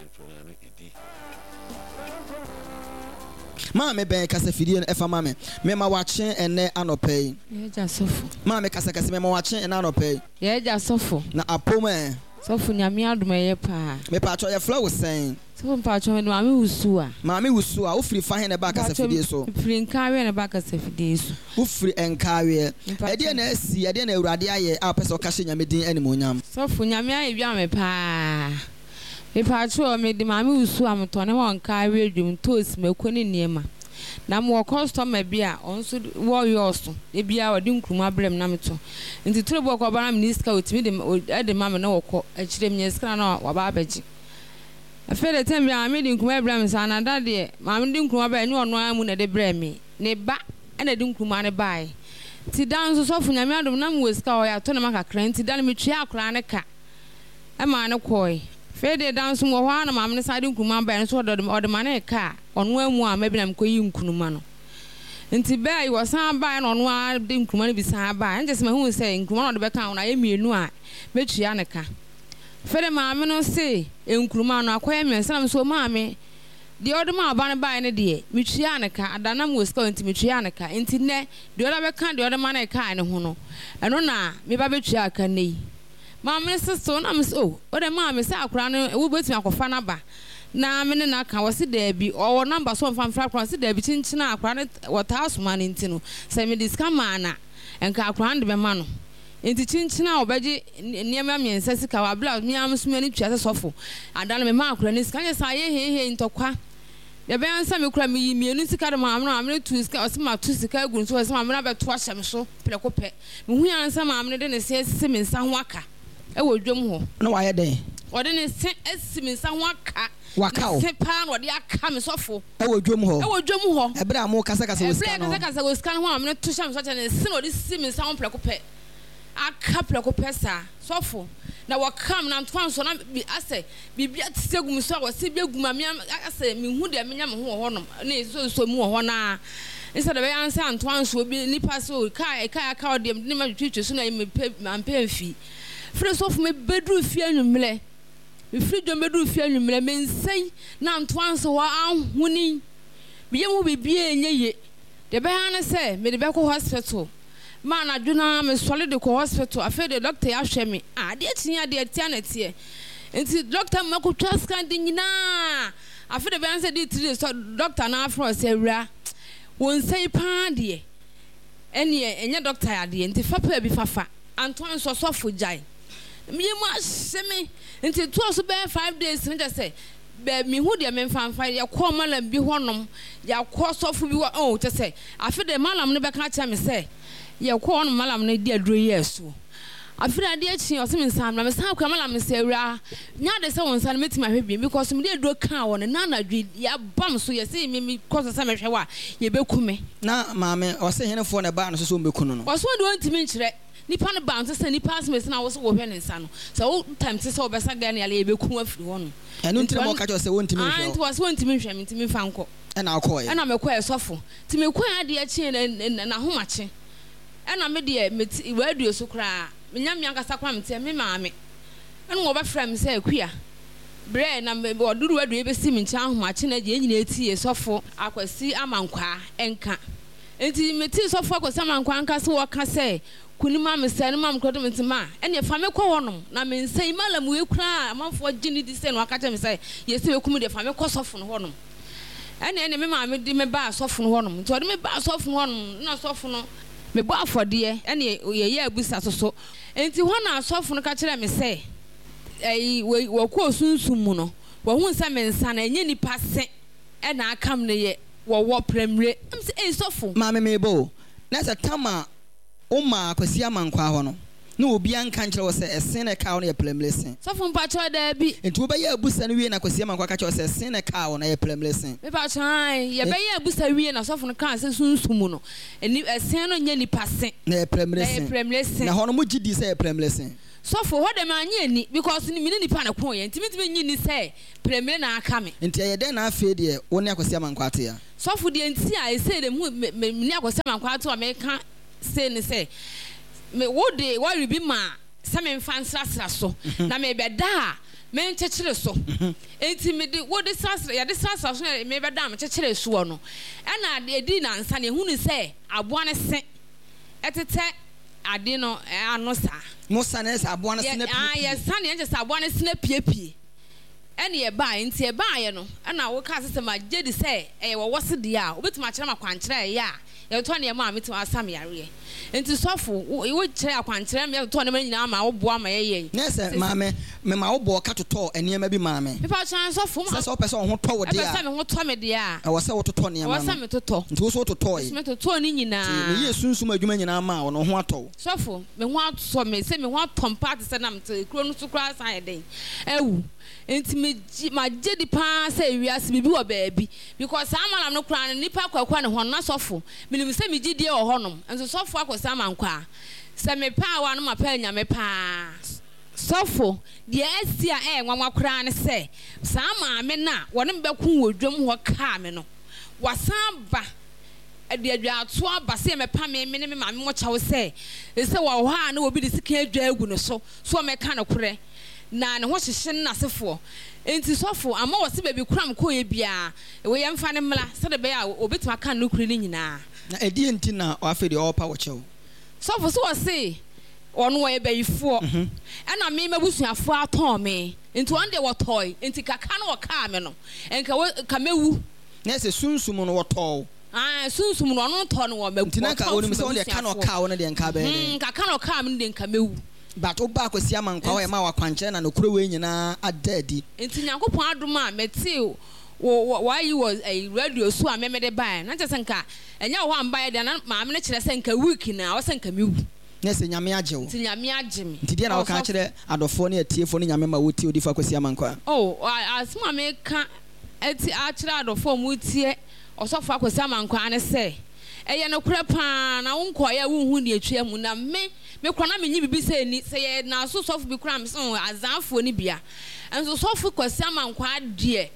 Maame bɛn kasafidie no fa ma me. Mema wakye ɛnnɛ anɔpa yi. Yɛ agya sɔfo. Maame kasa kɛse mema wakye ɛnnɛ anɔpa yi. Yɛ agya sɔfo. Na apom ɛ. Sɔfo Nyame adom ɛyɛ paa. Mepatwɔ yɛfrɛ wo sɛn? Sɔfo mpakyɛw mede maame Wusuwa. Maame Wusuwa, wo firi fahe na ɛbaa kasafidie so? Mpakyɛw mefiri Nkaaweɛ na ɛbaa kasafidie so. Wo firi Nkaaweɛ. Mpakyɛw. Ɛdeɛn na asi, ɛdeɛn na Awurade ayɛ a wopɛ sɛ woka hyɛ Nyame din animuonyam? Sɔfo, Nyame ayɛ bi ama me paa. Mepakyɛw mede maame Wusuwa metɔn nneɛma wɔ Nkaaweɛ dwom, ntoosi, mako ne nneɛma. Na mewɔ kɔstɔma bi a ɔno nso wɔ yɔɔso, da biara ɔde nkruma brɛ me na metɔ. Nti toro bi wɔ hɔ koraa ɔba na menni sika a ɔtumi de de ma me na wɔkɔ. Akyire menya sika na waba abɛgye. Afei de tɛm biara maame de nkruma brɛ me saa na da deɛ maame de nkruma baeɛ ɛnyɛ ɔno ara mu na ɛde brɛɛ me, ne ba na ɛde nkruma no baeɛ. Nti da nso sɔfo Nyame adom na mewɔ sika hɔ yɛatɔ nneɛma kakra nti da no metuaa akwadaa no ka maa no kɔe. Afei deɛ da nso mewɔ hɔ ara na maame no san de nkruma baeɛ nso ɔde ɔde ma no ka a ɔno ara mu amma bi na mekɔyii nkruma no. Nti bɛɛ yi wɔsan baeɛ na ɔno ara de nkruma no bi san baeɛ. Ɛnkyɛ sɛ mahunu sɛ nkruma no a ɔde bɛka ho no ayɛ mmienu a mɛtua no ka. Afei de maame no se nkruma no akɔyɛ mmiɛnsa na me nso maame deɛ ɔde maa ɔba no baeɛ no deɛ metuaa no ka ada na mewɔ sika nti metuaa no ka nti nnɛ deɛ ɔde abɛka deɛ ɔde ma no kae no ho no ɛno na meba bɛtua ka nnɛ yi. Maame no se so na me se oh wode maame sɛ akwadaa no wobɛtumi akɔfa no aba na me ne no aka wɔse daabi ɔwɔ number so ɔmfa mfrɛ akwadaa no ɔse daabi kyenkyen a akwadaa no wɔtaa soma no nti no sɛ mede sika maa no a nka akwadaa no de bɛma no. Enti kyinkyin a wɔbɛgye nneɛma mmiɛnsa sika wɔ bere a me ara nso m'ani tua sɛ sɔfo ada no memaa akwadaa no sika. Anyɛ saa a ɛyɛ heihei ntɔkwa. Deɛ ɛbɛyɛ ara ne sɛ me koraa meyii mmienu sika de maa maame no, maame no tuu sika, ɔse mato sika agu ne so, ɔse maame no abɛto ahyɛ me so prɛko pɛ. Mehui ara ne sɛ maame no de ne se asisi me nsa ho aka wɔ dwam hɔ. Na wayɛ dɛn? Ɔde ne se asi me nsa ho aka. Waka wo? Ne se paa na ɔde aka me sɔfo. Ɛwɔ dwam hɔ? Ɛwɔ dwam hɔ. Ɛberɛ a morekasakasa wɔ sika no ho? Ɛberɛ a yɛrekasakasa wɔ sika no ho a maame no to hyɛ me so kyɛ ne se na ɔde si me nsa ho prɛko pɛ. Aka prɛko pɛ saa. Sɔfo, na wɔka me na ntoa nso na bi asɛ biribi atete agu me so a wɔse bi agu me a me asɛ mehu deɛ menya me ho wɔ hɔnom ne nsonso mu wɔ hɔ no ara. Ne sɛ deɛ ɛbɛyɛ ansa ntoa nso obi nipa so kaa ɛkaa aka ɔdeɛ mede ne ma twitwi so na mepɛ mampɛ mfi. Firi sɔfo mebɛduru fie anwummerɛ. Mefiri dwam bɛduruu fie anwummerɛ, me nsa yi na ntoa nso hɔ ahoni. Me yam hɔ biribiara nyɛ yie. Deɛ ɛbɛyɛ ara ne sɛ mede bɛkɔ hospital. Ma anadwo no ara mesɔre de kɔ hospital. Afei deɛ dɔkta yi ahwɛ me. Ah, adeɛ kye yi adeɛ ɛteɛ na ɛteɛ. Nti dɔkta ma kɔtwa scan de nyinaa. Afei deɛ ɛbɛyɛ ara ne sɛ de three days dɔkta no afrɛ ɔsɛ awura, wo nsa yi paa deɛ ɛneɛ ɛnyɛ dɔkta yadeɛ nti fa paa bi fafa. Antoa nso ɔsɔfo gyae. Me yam ahye me nti ɛtoa so bɛyɛ five days no kyɛ sɛ bɛ mehu deɛ memfa mfa yɛkɔɔ malam bi hɔnom yɛakɔ sɔfo bi hɔ oh kyɛ sɛ afe deɛ malam no bɛka akyerɛ me sɛ yɛkɔɔ hɔnom malam no de aduro yɛɛ so afe no adeɛ kye ɔse me nsan mmra mesan kɔɛ malam no sɛ awuraa nyɛ ade sɛ wo nsa no mɛtumi ahwɛ bio because mede aduro kaa wɔ no na anadwo yɛabam so yɛse me mekɔ so sɛ mɛhwɛ wo a yɛbɛku me. Na maame ɔse henefoɔ na ɛbaa no so sɛ wɔmmɛku no no? Ɔse ɔno deɛ ɔntumi nkyerɛ. Nipa no ba nso sɛ nipa asem esi na wo so wo hwɛ ne nsa no sɛ wo time te sɛ wo bɛsa gɛɛ no yale yɛ bɛ ku afiri hɔ nom. Ɛno nti na ma ɔka kyerɛ wo sɛ wɔntumi nhwɛ wo. Nti wɔse wɔntumi nhwɛ me nti me nfa nkɔ. Ɛna wo kɔɔɛ. Ɛna me kɔɛ sɔfo nti me kɔɛ adeɛ kyee na n'ahomakye ɛna me deɛ me te radio so koraa me nya me ankasa koraa me teɛ me maame ɛna wɔbɛ frɛ me sɛ Akua brɛ na me wɔde radio yi bɛsi me nkyɛn ahomakye na yɛn nyinaa tie sɔfo Akwasi Amankwaa nka. Enti metee Sɔfo Akwasi Amankwah nka sɛ wɔka sɛ, Kuni ma me sɛɛ no ma me kura dom nti ma ɛneɛ fa me kɔ hɔ nom na me nsa yi malam wei koraa a amanfoɔ gye no di sɛ na waka kyerɛ me sɛ yɛsɛ bɛku me deɛ fa me kɔ sɔfo no hɔ nom. Ɛneɛ ɛneɛ me maame de me baa sɔfo no hɔ nom nti ɔde me baa sɔfo no hɔ nom na sɔfo no Mebɔ afɔdeɛ ɛne yɛyɛ abusa so so. Enti hɔ na asɔfo no ka kyerɛɛ me sɛ, ɛyi, wɔkɔɔ sunsum mu no, wɔhuu sɛ me nsa no, ɛnyɛ nnipa se na aka me no yɛ wɔwɔ prɛmire. Na mese, Ei, sɔfo! Maame meba o, na sɛ tam a womaa Kwasi Amankwaa hɔ no, na obiara nka nkyerɛ wo sɛ ɛsen na ɛkaa wo no yɛ prɛmire se? Sɔfo mpakyɛw, daabi. Nti wobɛyɛ abusa no wie na Kwasi Amankwaa ka kyerɛ wo sɛ ɛsen na ɛkaa wo no ɛyɛ prɛmire se? Mepakyɛw, aane. Yɛbɛyɛ abusa wie na sɔfo no kaa sɛ sunsum mu no, ɛni, ɛsen no nyɛ nipa se. Na ɛyɛ prɛmire Na ɛyɛ se. prɛmire se. Na ɛhɔ no mogye dii sɛ ɛyɛ prɛmire se? Sɔfo, hɔ deɛ mannye anni because me ne nipa na ɛkoeɛ nti mentumi nnye nni sɛ prɛmire na aka me. Nti ɛyɛ dɛn na afei deɛ wo ne Akwasi Amankwaa te a? Sɔfo, deɛ nti a ɛsei deɛ mehu me, me ne Akwasi Amankwaa te a meka sei ne sɛ, me, wo de wɔre bi maa sɛ memfa nsrasra so, na merebɛda a menkyekyere so. Enti mede wo de srasra, yɛde srasra so na merebɛda a mekyekyeree soɔ no, ɛna ɛdii nnansa no yɛhunuu sɛ aboa no se tetɛ ade no ano saa. Mo sane sɛ aboa no se no apiepie? Yɛsane ɛnkyɛ sɛ aboa no se no apiepie. Ɛne ɛbaeɛ. Nti ɛbaeɛ no, ɛna wokaa sɛ sɛ magye di sɛ ɛyɛ wɔwɔ se deɛ a, wobɛtumi akyerɛ me akwankyerɛ a ɛyɛ a yɛtotɔ nneɛma a mɛtumi asa me yareɛ. Nti sɔfo, wo wokyerɛɛ akwankyerɛ ma yɛtotɔɔ nneɛma no nyinaa maa woboa ma yɛyɛe. Nɛ sɛ, maame, mema wo bɔɔ ka totɔɔ nneɛma bi maa me. Mepa wo kyɛw, sɔfo, Sɛ sɛ wopɛ sɛ wo ho tɔ wo deɛ ɛpɛ a. sɛ me ho tɔ me deɛ a. Ɛwɔ sɛ wototɔ nneɛma Ɛwɔ no. sɛ metotɔ. Nti wo nso wototɔɔe. Nso metotɔɔ ne nyinaa. Nti meyɛɛ sunsum adwuma nyinaa maa wo no, wo ho atɔ wo. Sɔfo, me ho atɔ me, sɛ me ho atɔ me paa te sɛ na mete kuro no so koraa san ayɛ dɛn awu. Nti megye, magye di paa sɛ wiase biribi wɔ baabi. Because saa malam no koraa no, nnipa akɔ akɔ ne hɔ no, na sɔfo, menim sɛ me gyidie wɔ hɔnom, nso sɔfo akɔ saa mankwaa. Sɛ mepɛ awa no mapɛ anya me paa. Sɔfo, deɛ asi a ɛyɛ nwanwa koraa ne sɛ, saa maame no a wɔne me bɛko wɔ dwam hɔ kaa me no, wasan aba de adwaatoɔ aba sɛ yɛmmɛpa me, me ne me maame mo kyɛw sɛ, sɛ wɔ hɔ a na obi de sekan adwa agu ne so, so ɔmmɛka nokorɛ, na ne ho hyehye ne n'asefoɔ. Enti sɔfo, ama wɔse baabi koro a mekɔeɛ biara, wei yɛmfa no mmra, sɛdeɛ ɛbɛyɛ a ɔbɛtumi aka nokorɛ no nyinaa. Na ɛdeɛn nti na afei deɛ ɔrepa wo kyɛw? Sɔfo, so wɔse ɔno ɔyɛ bayifoɔ, ɛna me m'abusuafoɔ atɔn me, nti ɔno deɛ wɔtɔe, nti kakra no wɔkaa me no, nka wo, nka mɛwu. Na ɛsɛ sunsum no wɔtɔɔ wo. Aane, sunsum no ɔno tɔɔ no wɔ m'abu, Nti na nka ɔtɔɔ onim firi sɛ wo deɛ ka na m'abusuafoɔ. ɔkaa wo no deɛ nka abɛyɛ dɛn? Hmm, nka ka na ɔkaa me no deɛ nka mɛwu. But wo baa Kwasi Amankwaa hɔ Nti. yɛmaa wo akwankyerɛ na nokorɛ wei nyinaa ada adi. Nti Nyankopɔn adom a metee wo wɔ w'ayi wɔ ɛyi radio so a me mede baeɛ no, na kyerɛ sɛ nka ɛnyɛ wɔ hɔ a mebaeɛ deɛ na maame no kyerɛ sɛ nka week no a ɔsɛ nka mewu. Na ɛsɛ Nyame agye wo. Nti Nyame agye me. Nti deɛ na woka Ɔsɔfo. akyerɛ adɔfoɔ ne atiefoɔ ne Nyame mma wɔtie Odiyifoɔ Akwasi Amankwaa? Oh, asɛm a meka ati akyerɛ adɔfoɔ a wɔtie Ɔsɔfo Akwasi Amankwaa ne sɛ, ɛyɛ nokorɛ pa ara, na wo nkɔeɛ a wonhu deɛ ɛtwa mu, na me, me koraa na mennye biribi sɛ nni, sɛ yɛ Naaso sɔfo bi koraa a, mese oh, Azaafoɔ no bia. Nso Sɔfo Kwasi Amankwaa deɛ,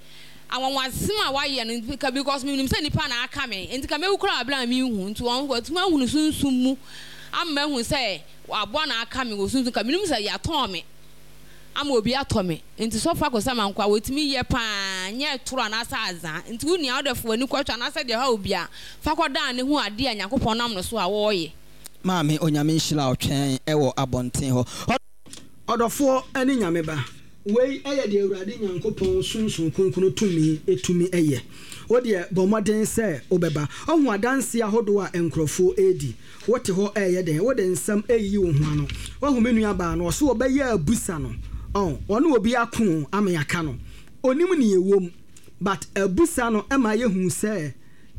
anwanwasem a wayɛ no, nka because menim sɛ nnipa na aka me, nti ka mɛwu koraa wɔ berɛ a menhu, nti wɔn, watumi ahunu sunsum mu ama mahu sɛ aboa na aka me wɔ sunsum, ka menim sɛ yɛatɔn me. Ama obi atɔ me nti sɔfo akɔsi ama nkoa wɔtumi yɛ paa nyɛ toro anaasɛ azaa nti wo nua wode fa w'ani kɔhwɛ anaasɛ deɛ ɛhaw obi a fa kɔ dan ne hu adeɛ a Nyankopɔn nam no so a wɔɔyɛ. Maame Onyame nhyira wo twɛn wɔ abɔnten hɔ. Ɔdɔfoɔ ne Nyame ba, wei yɛ deɛ Awurade Nyankopɔn Sunsum Kronkron tumi tumi yɛ. Wo deɛ bɔ mmɔden sɛ wobɛba. Woahu adanseɛ ahodoɔ a nkorɔfoɔ redi. Wote hɔ reyɛ dɛn? Wode nsɛm reyiyi wo ho ano. Woahu me nuabaa no, ɔse ɔbɛyɛ abusa no, ɔn, ɔne obi ako o, ama yɛaka no. Ɔnim nea ɛwɔ mu, but abusa no ma yɛhu sɛ,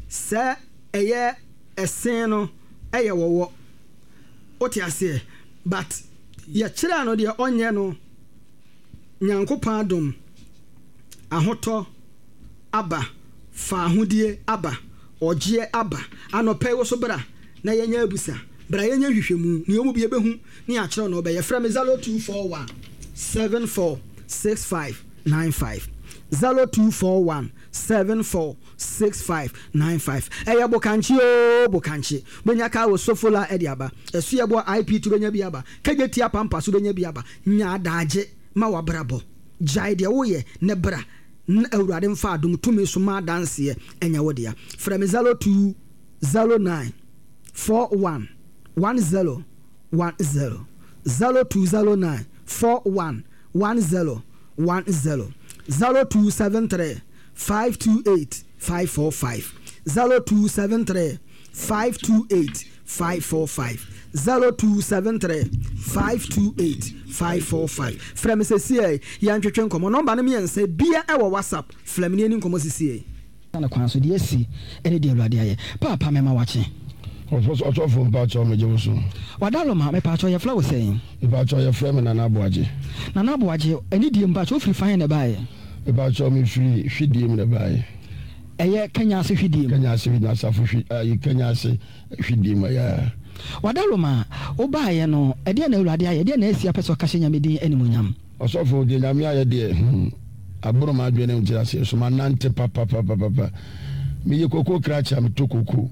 sɛ ɛyɛ ɛsen no yɛ wɔwɔ. Wote aseɛ? But yɛkyerɛɛ no deɛ ɔnyɛ no, Nyankopɔn adom, ahotɔ aba, faahodie aba, ɔgyeɛ aba. Anɔpa yi wo so bra na yɛnyɛ abusa, bra yɛnyɛ nhwehwɛmu, nea ɔmu bi yɛbɛhu ne yɛakyerɛ wo nea ɔbɛyɛ. Frɛ me zero two four one seven four six five nine five, zero two four one seven four six five nine five. Ɛyɛ bokankye oo bokankye, wobɛnya kaa wɔ Sofola de aba, Asuɛboa I P T wobɛnya bi aba, Kagyetia Pampa so wobɛnya bi aba. Nya adaagye ma w'abrabɔ, gyae deɛ woyɛ na bra na Awurade mfa adom tumi so ma adanseɛ nyɛ wo dea. Frɛ me zero two zero nine four one one zero one zero, zero two zero nine four one one zero one zero, zero two seven three five two eight five four five, zero two seven three five two eight five four five zero two seven three five two eight five four five. Frɛ me sɛsiɛ yɛntwetwe nkɔmmɔ. Nɔmba no mmiɛnsa bia ɛwɔ WhatsApp. Frɛ me ne yɛni nkɔmmɔ sisiɛ. Ne kwan so deɛ asi ne deɛ Awurade ayɛ. Paapa mɛma wakye. Ɔsɔfo mpakyɛw megye wo so. Wadaloma mepakyɛw yɛfrɛ wo sɛn? Mepakyɛw yɛfrɛ me Nana Aboagye. Nana Aboagye ɛne die mpakyɛw wofiri fan na ɛbaeɛ? Mepakyɛw mefiri Hwidiem na ɛbaeɛ. Ɛyɛ Kenya ase Hwidiem? Kenya ase Hwidiem, asafo hwi ayi Kenya ase Hwidiem ɛyɛ. Wadaloma wobaeɛ no ɛdeɛ na Awurade ayɛ, ɛdeɛ na asi apɛ sɛ ɔka hyɛ Nyame din animuonyam? Ɔsɔfo deɛ Nyame ayɛ deɛ hmm aboro m'adwene ne nteaseɛ so, manante papapapapa. Meyɛ koko krakye a metɔ koko,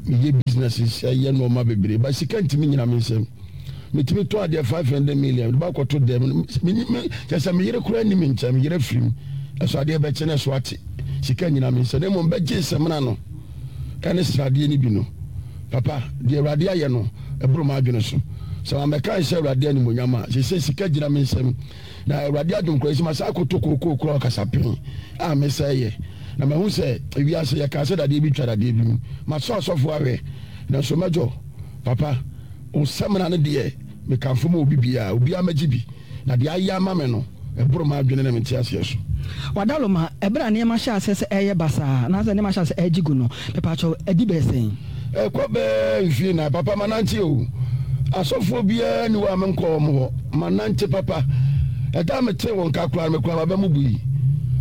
meyɛ businesses, ɛyɛ nneɛma bebree, ba sika ntumi nyina me nsam. Metumi tɔ adeɛ five hundred million de bakɔto dɛm, kyɛ sɛ me yere koraa nni me nkyɛn, me yere afiri mu, ɛso adeɛ bɛkye na ɛso ate, sika nyina me nsam. Na mmom bɛgye nsɛmina no ɛne sradeɛ no bi no, papa deɛ Awurade ayɛ no ɛboro m'adwene so. Sɛ mammɛka nhyɛ Awurade animuonyam a, seesei sika gyina me nsam. Na Awurade adom koraa nti masan akɔtɔ kookoo koraa ɔkasapen a mesɛe yɛ. Na mahu sɛ ewiase yɛkaa sɛ dadeɛ bi twa dadeɛ bi mu. Masɔ asɔfoɔ ahwɛ, nanso mɛdwo. Papa, wo samina no deɛ mekamfo ma obi biara, obiara mmɛgye bi. Na deɛ ayɛ ama me no, ɛboro m'adwene ne me nteaseɛ so. Wadaloma, ɛberɛ a nneɛma hyɛɛ aseɛ sɛ ɛreyɛ basaa, anaasɛ nneɛma hyɛɛ aseɛ ɛregye gu no, mepaakyɛw, adi bɛyɛ sɛn? Ɛkɔ bɛyɛ mfie nnan. Papa, manante o. Asɔfoɔ biara nni hɔ a menkɔɔ wɔn hɔ. Manante papa. Ɛda a metee wo nka koraa no, me koraa m'aba mu bui.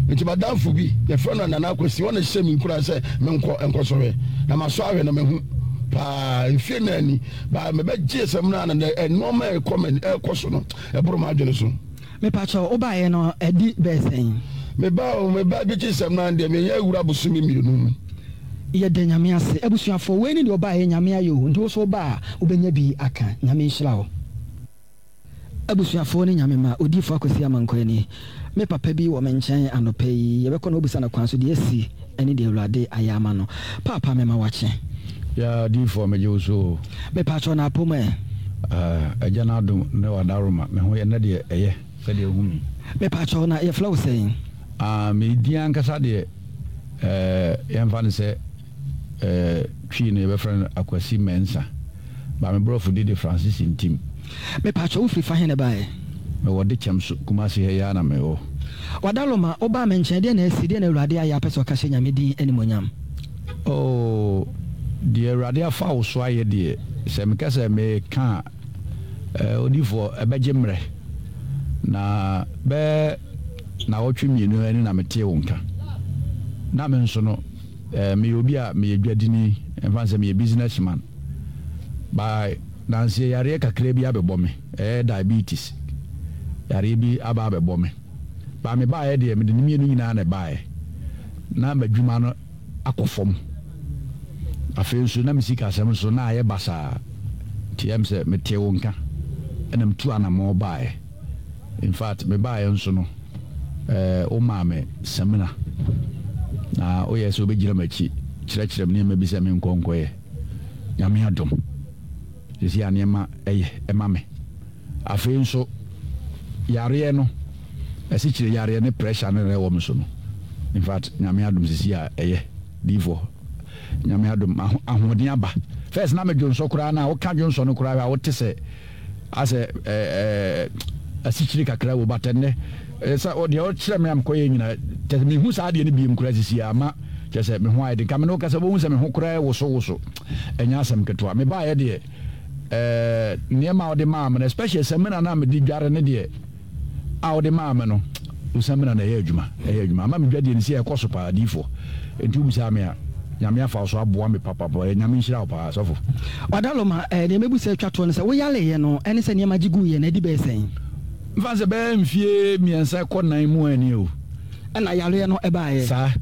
Enti m'adamfo bi, yɛfrɛ no Nana Akwasi, ɔno na ɛhyɛɛ me nkuran sɛ menkɔ nkɔsɔhwɛ. Na masɔ ahwɛ na mahu paa. Mfie nnan ni, baa mebɛgyee samina no na nneɛma a ɛrekɔ m'ani, ɛrekɔ so no, ɛboro m'adwene so. Mepakyɛw, wobaeɛ no adi bɛyɛ sɛn? Mebaa o, mebaa bɛgyee samina no deɛ, menyɛ awura bosome mmienu mu. Yɛda Nyame ase. Abusuafoɔ, wei ne deɛ ɔbaeɛ, Nyame ayɛ o, nti wo nso woba a, wobɛnya bi aka. Nyame nhyira wo. Abusuafoɔ ne Nyame mma, Odiyifoɔ Akwasi Amankwaa nie. Me papa bi wɔ me nkyɛn anɔpa yi, yɛbɛkɔ na wabisa no kwan so deɛ asi ne deɛ Awurade ayɛ ama no. Paapa mema wakye. Yaa Diyifoɔ megye wo so o. Mepaakyɛw na apom ɛ? Ah, Agya no adom ne w'adaworoma, me ho yɛ nnɛ deɛ ɛyɛ sɛdeɛ wohu me yi. Mepaakyɛw na yɛfrɛ wo sɛn? Ah, me din ankasa deɛ eh, yɛmfa no sɛ eh, Twi no yɛbɛfrɛ no Akwasi Mensah, but me borɔfo din de Francis Ntim. Mepaakyɛw wo firi fa he na ɛbaeɛ? Mewɔ Dekyɛm so, Kumasi ha yi ara na mewɔ. Wadaloma, wobaa me nkyɛn, deɛn na asi, deɛn na Awurade ayɛ a wopɛ sɛ ɔka hyɛ Nyame din animuonyam? Oh, deɛ Awurade afa wo so ayɛ deɛ, sɛ meka sɛ meka a, eh, odiyifoɔ, ɛbɛgye mmerɛ. Na bɛyɛ nnawɔtwe mmienu ni na metee wo nka. Na me nso no, eh, meyɛ obi a meyɛ dwadini, ɛmfa no sɛ meyɛ business man. By nanseɛ yareɛ kakra bi abɛbɔ me, ɛyɛ diabetes yareɛ bi aba abɛbɔ me. Ba mebaeɛ deɛ, mede ne mmienu nyinaa na ɛbaeɛ. Na m'adwuma no akɔ fam. Afei nso na me sikasɛm nso na ayɛ basaa. Nti ɛyɛ me sɛ metee wo nka ɛna metuu anammɔn baeɛ. In fact, mebaeɛ nso no, eh, womaa me samina. Na woyɛɛ sɛ wobɛgyina m'akyi kyerɛkyerɛ me nneɛma bi sɛ menkɔ nkɔyɛ. Nyame adom, seesei a nneɛma yɛ ma me. Afei nso, yareɛ no, asikyire yareɛ ne pressure no na ɛwɔ me so no, in fact, Nyame adom seesei a ɛyɛ. Diifoɔ, Nyame adom, ahoɔden aba. First na me dwonsɔ koraa no a, woka dwonsɔ no koraa a, wote sɛ asɛ ɛɛ asikyire kakra wɔ but ɛnnɛ sɛ deɛ ɔkyerɛ me a mekɔyɛ nyina kyɛ sɛ mehu saa adeɛ no biem koraa sisi a ama kyɛ sɛ me ho ayɛ den. Ka me ne wo kasa wobɛhu sɛ me ho koraa woso woso, ɛnyɛ asɛm ketewa. Mebaeɛ deɛ ɛɛ nneɛma a wode maa me no, especially samina no a mede dware no deɛ a wode maa me no, wo samina no ɛyɛ adwuma, ɛyɛ adwuma ama me dwadie no sɛ ɛkɔ so paa diifoɔ. Enti wobisaa me a, Nyame afa wo so aboa me papapa. Ɛyɛ Nyame nhyira wo paa sɔfo. Wadaloma, eh, deɛ mɛbu sɛ atwa toɔ ne sɛ, wo yareeɛ no ɛne sɛ nneɛma gye guiɛ no adi bɛyɛ sɛn? Mfa no sɛ bɛyɛ mfie mmiɛnsa kɔ nnan mu ani o. Ɛna yareɛ no baeɛ. Saa.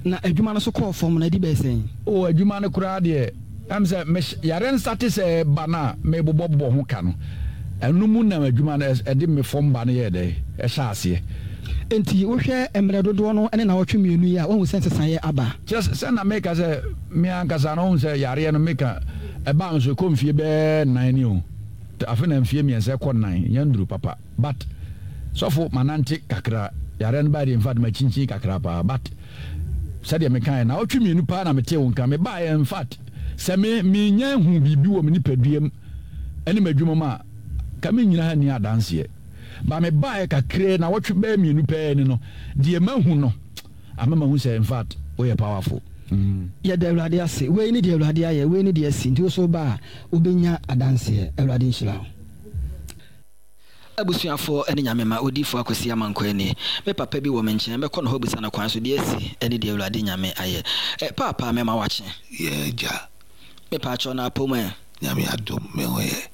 Na adwuma no nso kɔɔ fam no adi bɛyɛ sɛn? Oh, adwuma no koraa deɛ, ɛm sɛ me yareɛ no starte sɛ ɛreba no a merebobɔbobɔ ho ka no, ɛno mu na adwuma no ɛde me fam ba no yɛɛ dɛn? Ɛhyɛɛ aseɛ. Enti wohwɛ mmerɛ dodoɔ no ne nnawɔtwe mmienu yi a, woahu sɛ nsesaeɛ aba? Kyerɛ sɛ, sɛ na meka sɛ me ankasa no, wohu sɛ yareɛ no meka ɛbaa me so ɛkɔ mfie bɛyɛ nnan ni o, afei na mfie mmiɛnsa ɛkɔ nnan, ɛnya nnuru papa, but sɔfo manante kakra, yareɛ no baeɛ deɛ infact makyinkyin kakra paa, but sɛdeɛ mekaeɛ nnawɔtwe mmienu paa na metee wo nka, mebaeɛ infact Sɛ me menya hu biribi wɔ me nipadua mu ne m'adwuma mu a, ka mennyina ha nni adanseɛ. Ba mebaeɛ kakraa nnawɔtwe bɛyɛ mmienu pɛɛ ni no, deɛ mahu no ama mahu sɛ in fact woyɛ powerful. Mm. Yɛda Awurade ase. Wei ne deɛ Awurade ayɛ, wei ne deɛ asi. Nti wo nso woba a, wobɛnya adanseɛ. Awurade nhyira wo. Abusuafoɔ ne Nyame mma, Odiyifoɔ Akwasi Amankwaa nie. Me papa bi wɔ me nkyɛn, mɛkɔ ne hɔ abisa no kwan so deɛ asi ne deɛ Awurade Nyame ayɛ. Eh, Paapa, mɛma wakye. Yɛ agya. Mepaakyɛw, na apɔ mu ɛ? Nyame adom, me ho yɛ.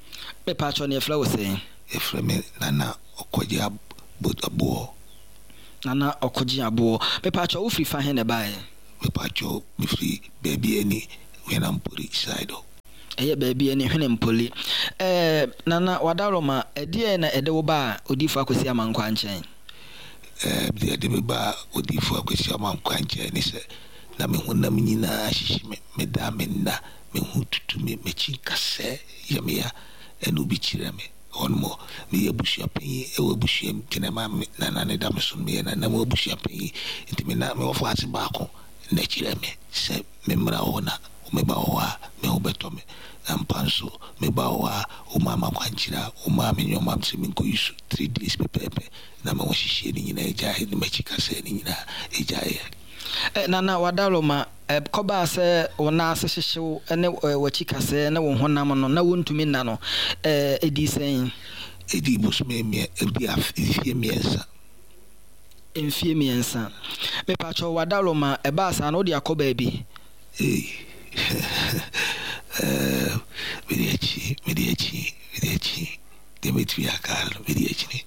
Mepaakyɛw, na yɛfrɛ wo sɛn? Yɛfrɛ me Nana Ɔkɔgye Aboɔ. Nana Ɔkɔgye Aboɔ. Mepaakyɛw, wo firi fa he na ɛbaeɛ? Mepaakyɛw, me firi baabi ani Hwenampori side hɔ. Ɛyɛ baabi ani Hwenampoli. Ɛɛ, Nana Wadaroma, ɛdeɛn na ɛde wo baa Odiyifoɔ Akwasi Amankwaa nkyɛn? Ɛɛ, deɛ ɛde me baa Odiyifoɔ Akwasi Amankwaa nkyɛn ne sɛ, na me honam nyinaa hyehye me, meda a menna, me ho tutu me, m'akyi nkasɛɛ yɛ me ya, ɛna obi kyerɛɛ me. Hɔnom hɔ, meyɛ abusuapanyin wɔ abusua mu, nti na ɛma me nana no da me so no, meyɛ nana mu abusuapanyin. Nti me na me wɔfaase baako na ɛkyerɛɛ me sɛ memmra hɔ na meba hɔ a me ho bɛtɔ me. Na ampa nso, meba hɔ a, womaa me akwankyerɛ a womaa me nneɛma sɛ menkɔyi so three days pɛpɛɛpɛ, na me ho hyehyeɛ no nyinaa gyaeɛ, ne m'akyi kasɛɛ no nyinaa gyaeɛ. Nana Wadaroma, Ɛkɔbaa sɛ wo nan ase hyehye wo ne w'akyi kasɛɛ ne wo honam no, na wuntumi nna no. Edii sɛn? Edii bosome mmiɛ, edii afe, mfie mmiɛnsa. Mfie mmiɛnsa. Mepakyɛw, w'adaworoma, ɛbaa saa no, wode akɔ baabi? Ei, ɛɛ, mede akyi, mede akyi, mede akyi. Deɛ mɛtumi aka ara no, mede akyini.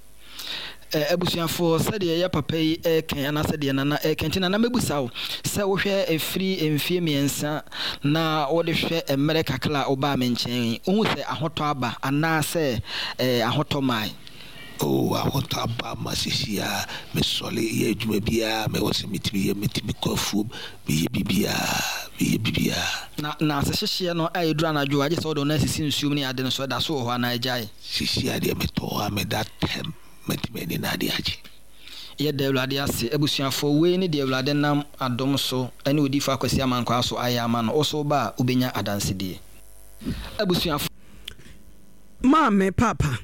Abusuafoɔ, sɛdeɛ yɛ papa yi reka yi anaasɛ deɛ Nana reka nti, Nana mɛbusa wo sɛ wohwɛ ɛfiri mfeɛ mmiɛnsa na wode hwɛ mmerɛ kakra a wobaa me nkyɛn yi, wohu sɛ ahotɔ aba anaasɛ ahotɔ mmae? Oh, ahotɔ aba ma seesei ara mesɔre yɛ adwuma biara a mewɔ sɛ metumi yɛ, metumi kɔ afuom, meyɛ biribiara, meyɛ biribiara. Na n'asehyehyeɛ no a ɛduru anadwo a gye sɛ wode wo nan sisi nsuom ne ade no so, ɛda so wɔ hɔ anaa agyae? Seesei ara deɛ metɔ hɔ a meda tɛm, mɛtumi ani na ade akye. Yɛda Awurade ase. Abusuafoɔ, wei ne deɛ Awurade nam adom so ne Odiyifoɔ Akwasi Amankwaa so ayɛ ama no. Wo nso woba a, wobɛnya adansedie. Abusuafoɔ. Maame, Paapa,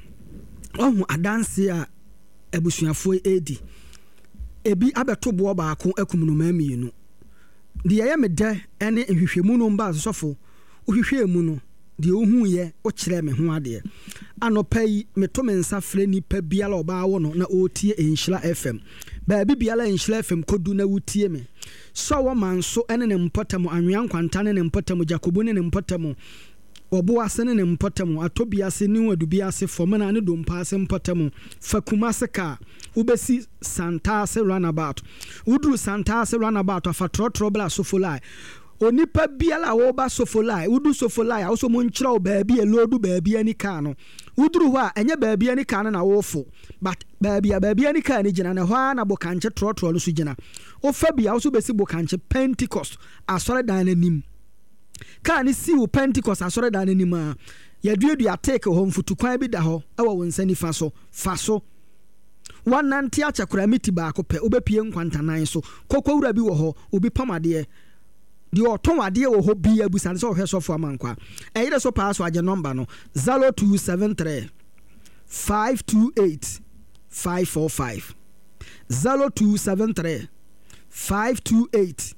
woahu adanseɛ a abusuafoɔ yi redi? Ebi abɛto boɔ baako akum nnomaa mmienu. Deɛ ɛyɛ me dɛ ne nhwehwɛmu no mbaa so sɔfo, wohwehwɛɛ mu no, deɛ wohuiɛ, wokyerɛɛ me ho adeɛ. Anɔpa yi, meto me nsa frɛ nipa biara a ɔbaa wɔ no na ɔretie Nhyira FM. Baabi biara a Nhyira FM kɔdu na wotie me. Sɛ ɔwɔ Manso ne ne mpɔtam, Anwea Nkwanta ne ne mpɔtam, Gyakobu ne ne mpɔtam, Ɔbo ase ne ne mpɔtam, Atɔbi ase, New Adubi ase, Fɔmena ne Dompa ase mpɔtam, fa Kumase kaa, wobɛsi Santase runabout. Woduru Santase runabout a, fa trɔtrɔ bra Sofolai. Onipa biara a ɔreba Sofolai, wodu Sofolai a, wo sɛ wɔnkyerɛ wo baabi a ɛloodu baabi ani kaa no. Woduru hɔ a, ɛnyɛ baabi ani kaa no na worefo, but baabi a baabi ani kaa no gyina no, ɛhɔ ara na Bokankye trɔtrɔ no nso gyina. Wofa bi a, wo nso wobɛsi Bokankye Pentecost asɔredan no anim. Kaa no sii wo Pentekoste asɔredan no anim a, yɛaduadua teak wɔ hɔ, mfutukwan bi da hɔ wɔ wo nsa nifa so. Fa so. Woanante akyɛ koraa miti baako pɛ, wobɛpue nkwantanan so. Kɔkɔwura bi wɔ hɔ, obi pam adeɛ. Deɛ ɔtɔn adeɛ wɔ hɔ biara, bisa no sɛ ɔhwɛ Sɔfo Amankwaa. Ɛyere so paa so agye nɔmba no, zero two seven three, five two eight, five four five. Zero two seven three, five two eight.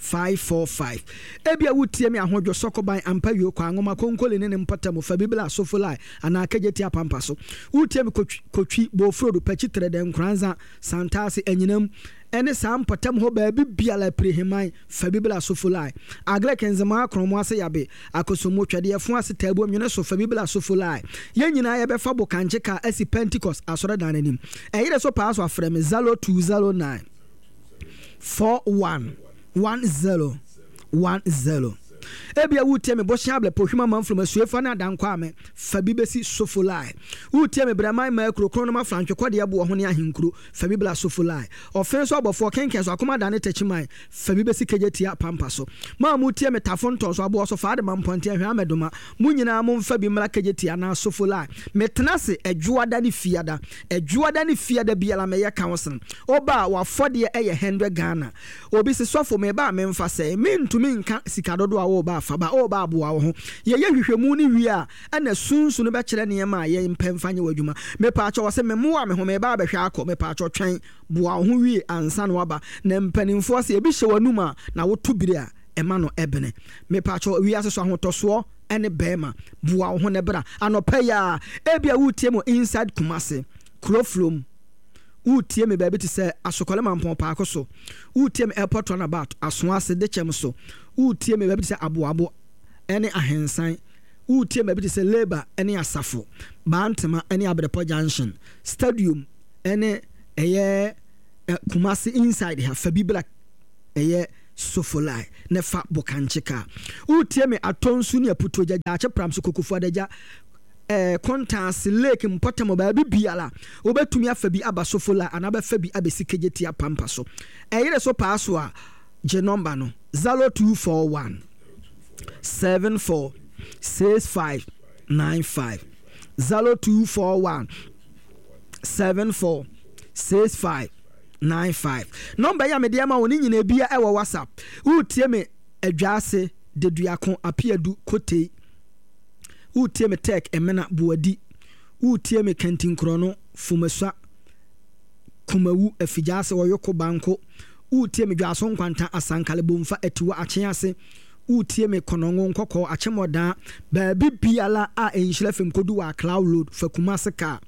Five four five. Ebia wutie me ahodwo, sɔkoban, ampawio, kwanwoma, konkoli ne ne mpɔtam, fabibla, sofolai, anaa kejetia pampa so. Wutie me kotwi, kotwi, bofrodo, pakyi, trɛdɛ, nkoranza, santaase, anyinam, ne saa mpɔtam hɔ baabi biara, apiriheman, fabibla, sofolai, agric, nzemaa, krɔmo ase yabe, akosombo, twɛdeɛfo ase, taabuo, nwene so, fabibla, sofolai. Yɛn nyinaa yɛbɛfa bokankye kaa asi Pentecost asɔredan no anim. Ɛyere so paa so afrɛ me zero two zero nine. four one one zero one zero. Ebia woretie me Bosea Ablɛ Pohwim Amanfrom Asuefa ne Adankwame fa bi bɛsi Sofolai. Woretie me Brɛman Mmaa Kuro Kronom Afrantwe Kɔdeɛ Boɔ ho ne Ahenkuro fa bi bra Sofolai. Ɔfe so Abɔfoɔ Kenken so Akomadan ne Takyiman fa bi bɛsi Kejetia Pampa so. Mo a moretie me Tafo Ntɔn so Aboɔ so Faadema Mpɔnten Ahwea Amɛdoma mo nyinaa momfa bi mmra Kejetia anaa Sofolai. Metena ase Ɛdwoada ne Fiada. Ɛdwoada ne Fiada biara mɛyɛ counseling. Woba a w'afɔdeɛ yɛ hundred Ghana. Obi se sɔfo meba a memfa sɛn? Mentumi nka sika dodoɔ a Woreba afa ba, woreba aboa wo ho. Yɛyɛ nhwehwɛmu no wie a, ɛna sunsun no bɛkyerɛ nneɛma a yɛn mpɛ mfa nyɛ w'adwuma. Mepaakyɛw, ɔse memmoa me ho, meba abɛhwɛ akɔ. Mepaakyɛw, twɛn, boa wo ho wie ansa na woaba. Na mpanimfoɔ se, ebi hyɛ w'anum a, na woto biri a, ɛma no ɛbene. Mepaakyɛw, wiase so ahotɔsoɔ ne bɛɛma, boa wo ho na bra. Anɔpa yi ara, ebia woretie me wɔ inside Kumasi, Kurofrom, woretie me baabi te sɛ Asokɔle Mampɔn Paako so, woretie me Airport Runabout, Asoase, Dekyɛm so, woretie me baabi te sɛ Aboabo ne Ahensan, woretie me baabi te sɛ Labour ne Asafo, Bantema ne Abrepɔ Junction, Stadium ne ɛyɛ Kumasi inside ha, fa bi bra ɛyɛ Sofolai ne fa Bokankye kaa. Woretie me Atonsu ne Aputuogya, Gyaakye Pramso, Kokofo Adagya, eh, Kontaase, Lake, mpɔtam, baabi biara wobɛtumi afa bi aba Sofola anaa bɛfa bi abɛsi Kejetia Pampa so. Ɛyere so paa so a, gye nɔmba no, zero two four one seven four six five nine five, zero two four one seven four six five nine five. Nɔmba yi a mede ama wo ne nyinaa bia ɛwɔ WhatsApp. Woretie me Adwaase, Deduako, Apeadu, Kotei. Woretie me Tech, Emena, Boadi. Woretie me Kantinkorɔno, Fumasua, Kumawu, Afigyaase, Ɔyoko, Banko. Woretie me Dwaso Nkwanta, Asankale, Bomfa, Atiwa, Akyease. Woretie me Kɔnɔngo, Nkɔkɔɔ, Akyemmɔdaa, baabi biara a Nhyira fam kɔdu wɔ Accra Road, fa Kumase kaa.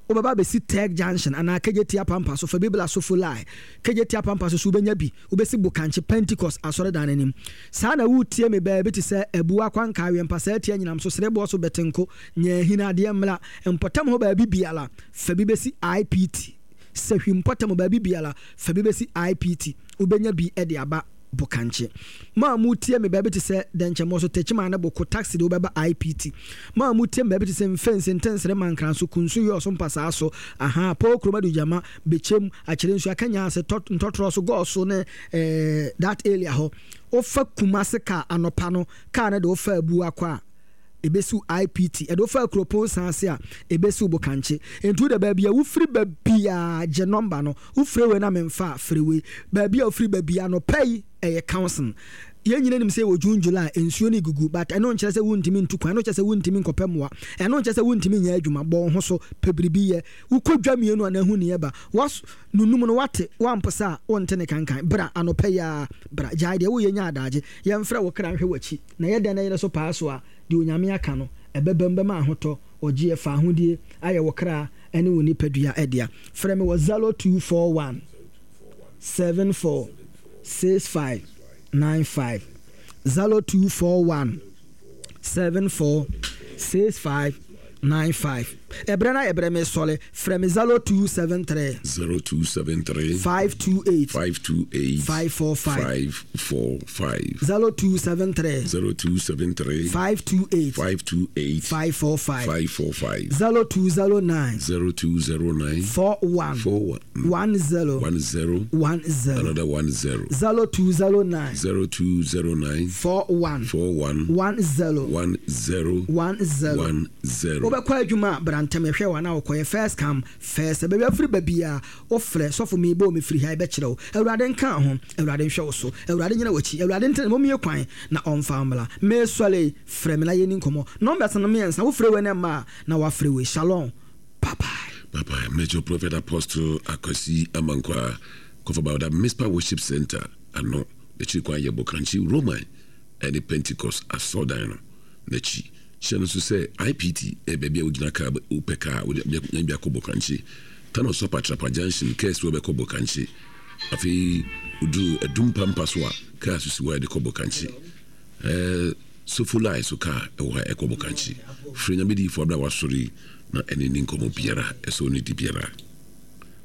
Wobɛba abɛsi Tech Junction anaa Kejetia Pampa so, fa bi bra Sofolai. Kejetia Pampa so so wobɛnya bi. Wobɛsi Bokankye Pentecost Asɔredan no anim. Saa na woretie me baabi te sɛ Abua, Kwanka, Awɛmpa, Saatia, Nyinamso, Sereboɔ so, Bɛtenko, Nyaahini, Adeɛ Mmra, mpɔtam hɔ baabi biara, fa bi bɛsi I P T. Sahwi mpɔtam baabi biara, fa bi bɛsi I P T. Wobɛnya bi de aba Bokankye. Mo a moretie me baabi te sɛ Dɛnkyɛmmɔ so, Techiman ne Boko, taxi de wobɛba I P T. Mo a moretie me baabi te sɛ Mfense, Ntensere, Mankranso, Kunsu, Yɔɔso, Mpasaa so, Ahaa, Pɔɔ Kurom, Adugyama, Bekyem, Akyerɛ Nsuo, Akanyaase, Tɔ, Ntɔtorɔ so, Gɔɔ so ne eh, that area hɔ. Wofa Kumase kaa anɔpa no, kaa no de wofa Abua kɔ a, ɛbɛsiw I P T. Ɛde wofa Kuropɔn san ase a, ɛbɛsiw Bokankye. Nti wode baabi a wofiri ba biara, gye nɔmba no. Wofiri wei na memfa a, firi wei. Baabi a wofiri ba biara anɔpa yi, ɛyɛ counseling. Yɛn nyinaa nim sɛ wɔ June, July, nsuo no gugu, but ɛno nkyerɛ sɛ wontumi ntu kwan, ɛno nkyerɛ sɛ wontumi nkɔpɛ mmoa, ɛno nkyerɛ sɛ wontumi nyɛ adwuma. Bɔ wo ho so, pɛ biribi yɛ. Wokɔ dwa mmienu a na ahu neɛ ba. Was nunum no wate, wampo sa a wonte ne kankan. Bra anɔpa yi ara, bra. Gyae deɛ woyɛ nya adagye. Yɛmfrɛ wo kra nhwɛ w'akyi. Na yɛ dɛn na yɛrɛ so paa so a, deɛ Onyame aka no, ɛbɛba mu bɛma ahotɔ, ɔgyeɛ, fa ahodie ayɛ wo kra ne wo nipadua ɛdea. Frɛ me wɔ zero two four one seven four six five nine five, zero two four one seven four six five nine five. Ɛberɛ no ayɛ berɛ mesɔre. Frɛ me zero two seven three zero two seven three five two eight five two eight five four five. five four five. zero two seven three zero two seven three five two eight five two eight five four five. five four five. zero two zero nine zero two zero nine four one four one one zero one zero one zero. Another one zero. zero two zero nine zero two zero nine four one four one one zero one zero one zero. one zero. Wobɛkɔ adwuma a, brantam yɛhwɛ wɔ anaa wokɔyɛ first come first. Baabi afiri baabi a wofrɛ sɔfo meebɔ mefiri ha, yɛbɛkyerɛ wo. Awurade nka ho, Awurade nhwɛ wo so, Awurade nyina w'akyi, Awurade ntene mommie kwan na ɔmfa mmra. Mesɔre, frɛ me na yɛni nkɔmmɔ. Numbers no mmiɛnsa, wofrɛ wei no mma a na wafrɛ wei. Shalom, bye bye. Bye bye. Major Prophet Apostle Akwasi Amankwa Kɔfabawda Mispa Worship Center ano n'akyiri kwan yɛ Bokankye Roman ɛne Pentecost asɔrdan no n'akyi. Hyɛ no nso sɛ I P T ɛyɛ baabi a wogyina kaa, wopɛ kaa wode nya bi akɔ Bokankye. Tano Sɔpa Trapa Junction kaa si hɔ bɛkɔ Bokankye. Afei woduru Adum Pampa so a, kaa so si hɔ a yɛde kɔ Bokankye. Ɛɛ Sofolai so kaa ɛwɔ ha ɛkɔ Bokankye. Frɛ Nyame diyifoɔ abere a wasɔre yi na ɛne ne nkɔmmɔ biara ɛsɛ ɔne di biara.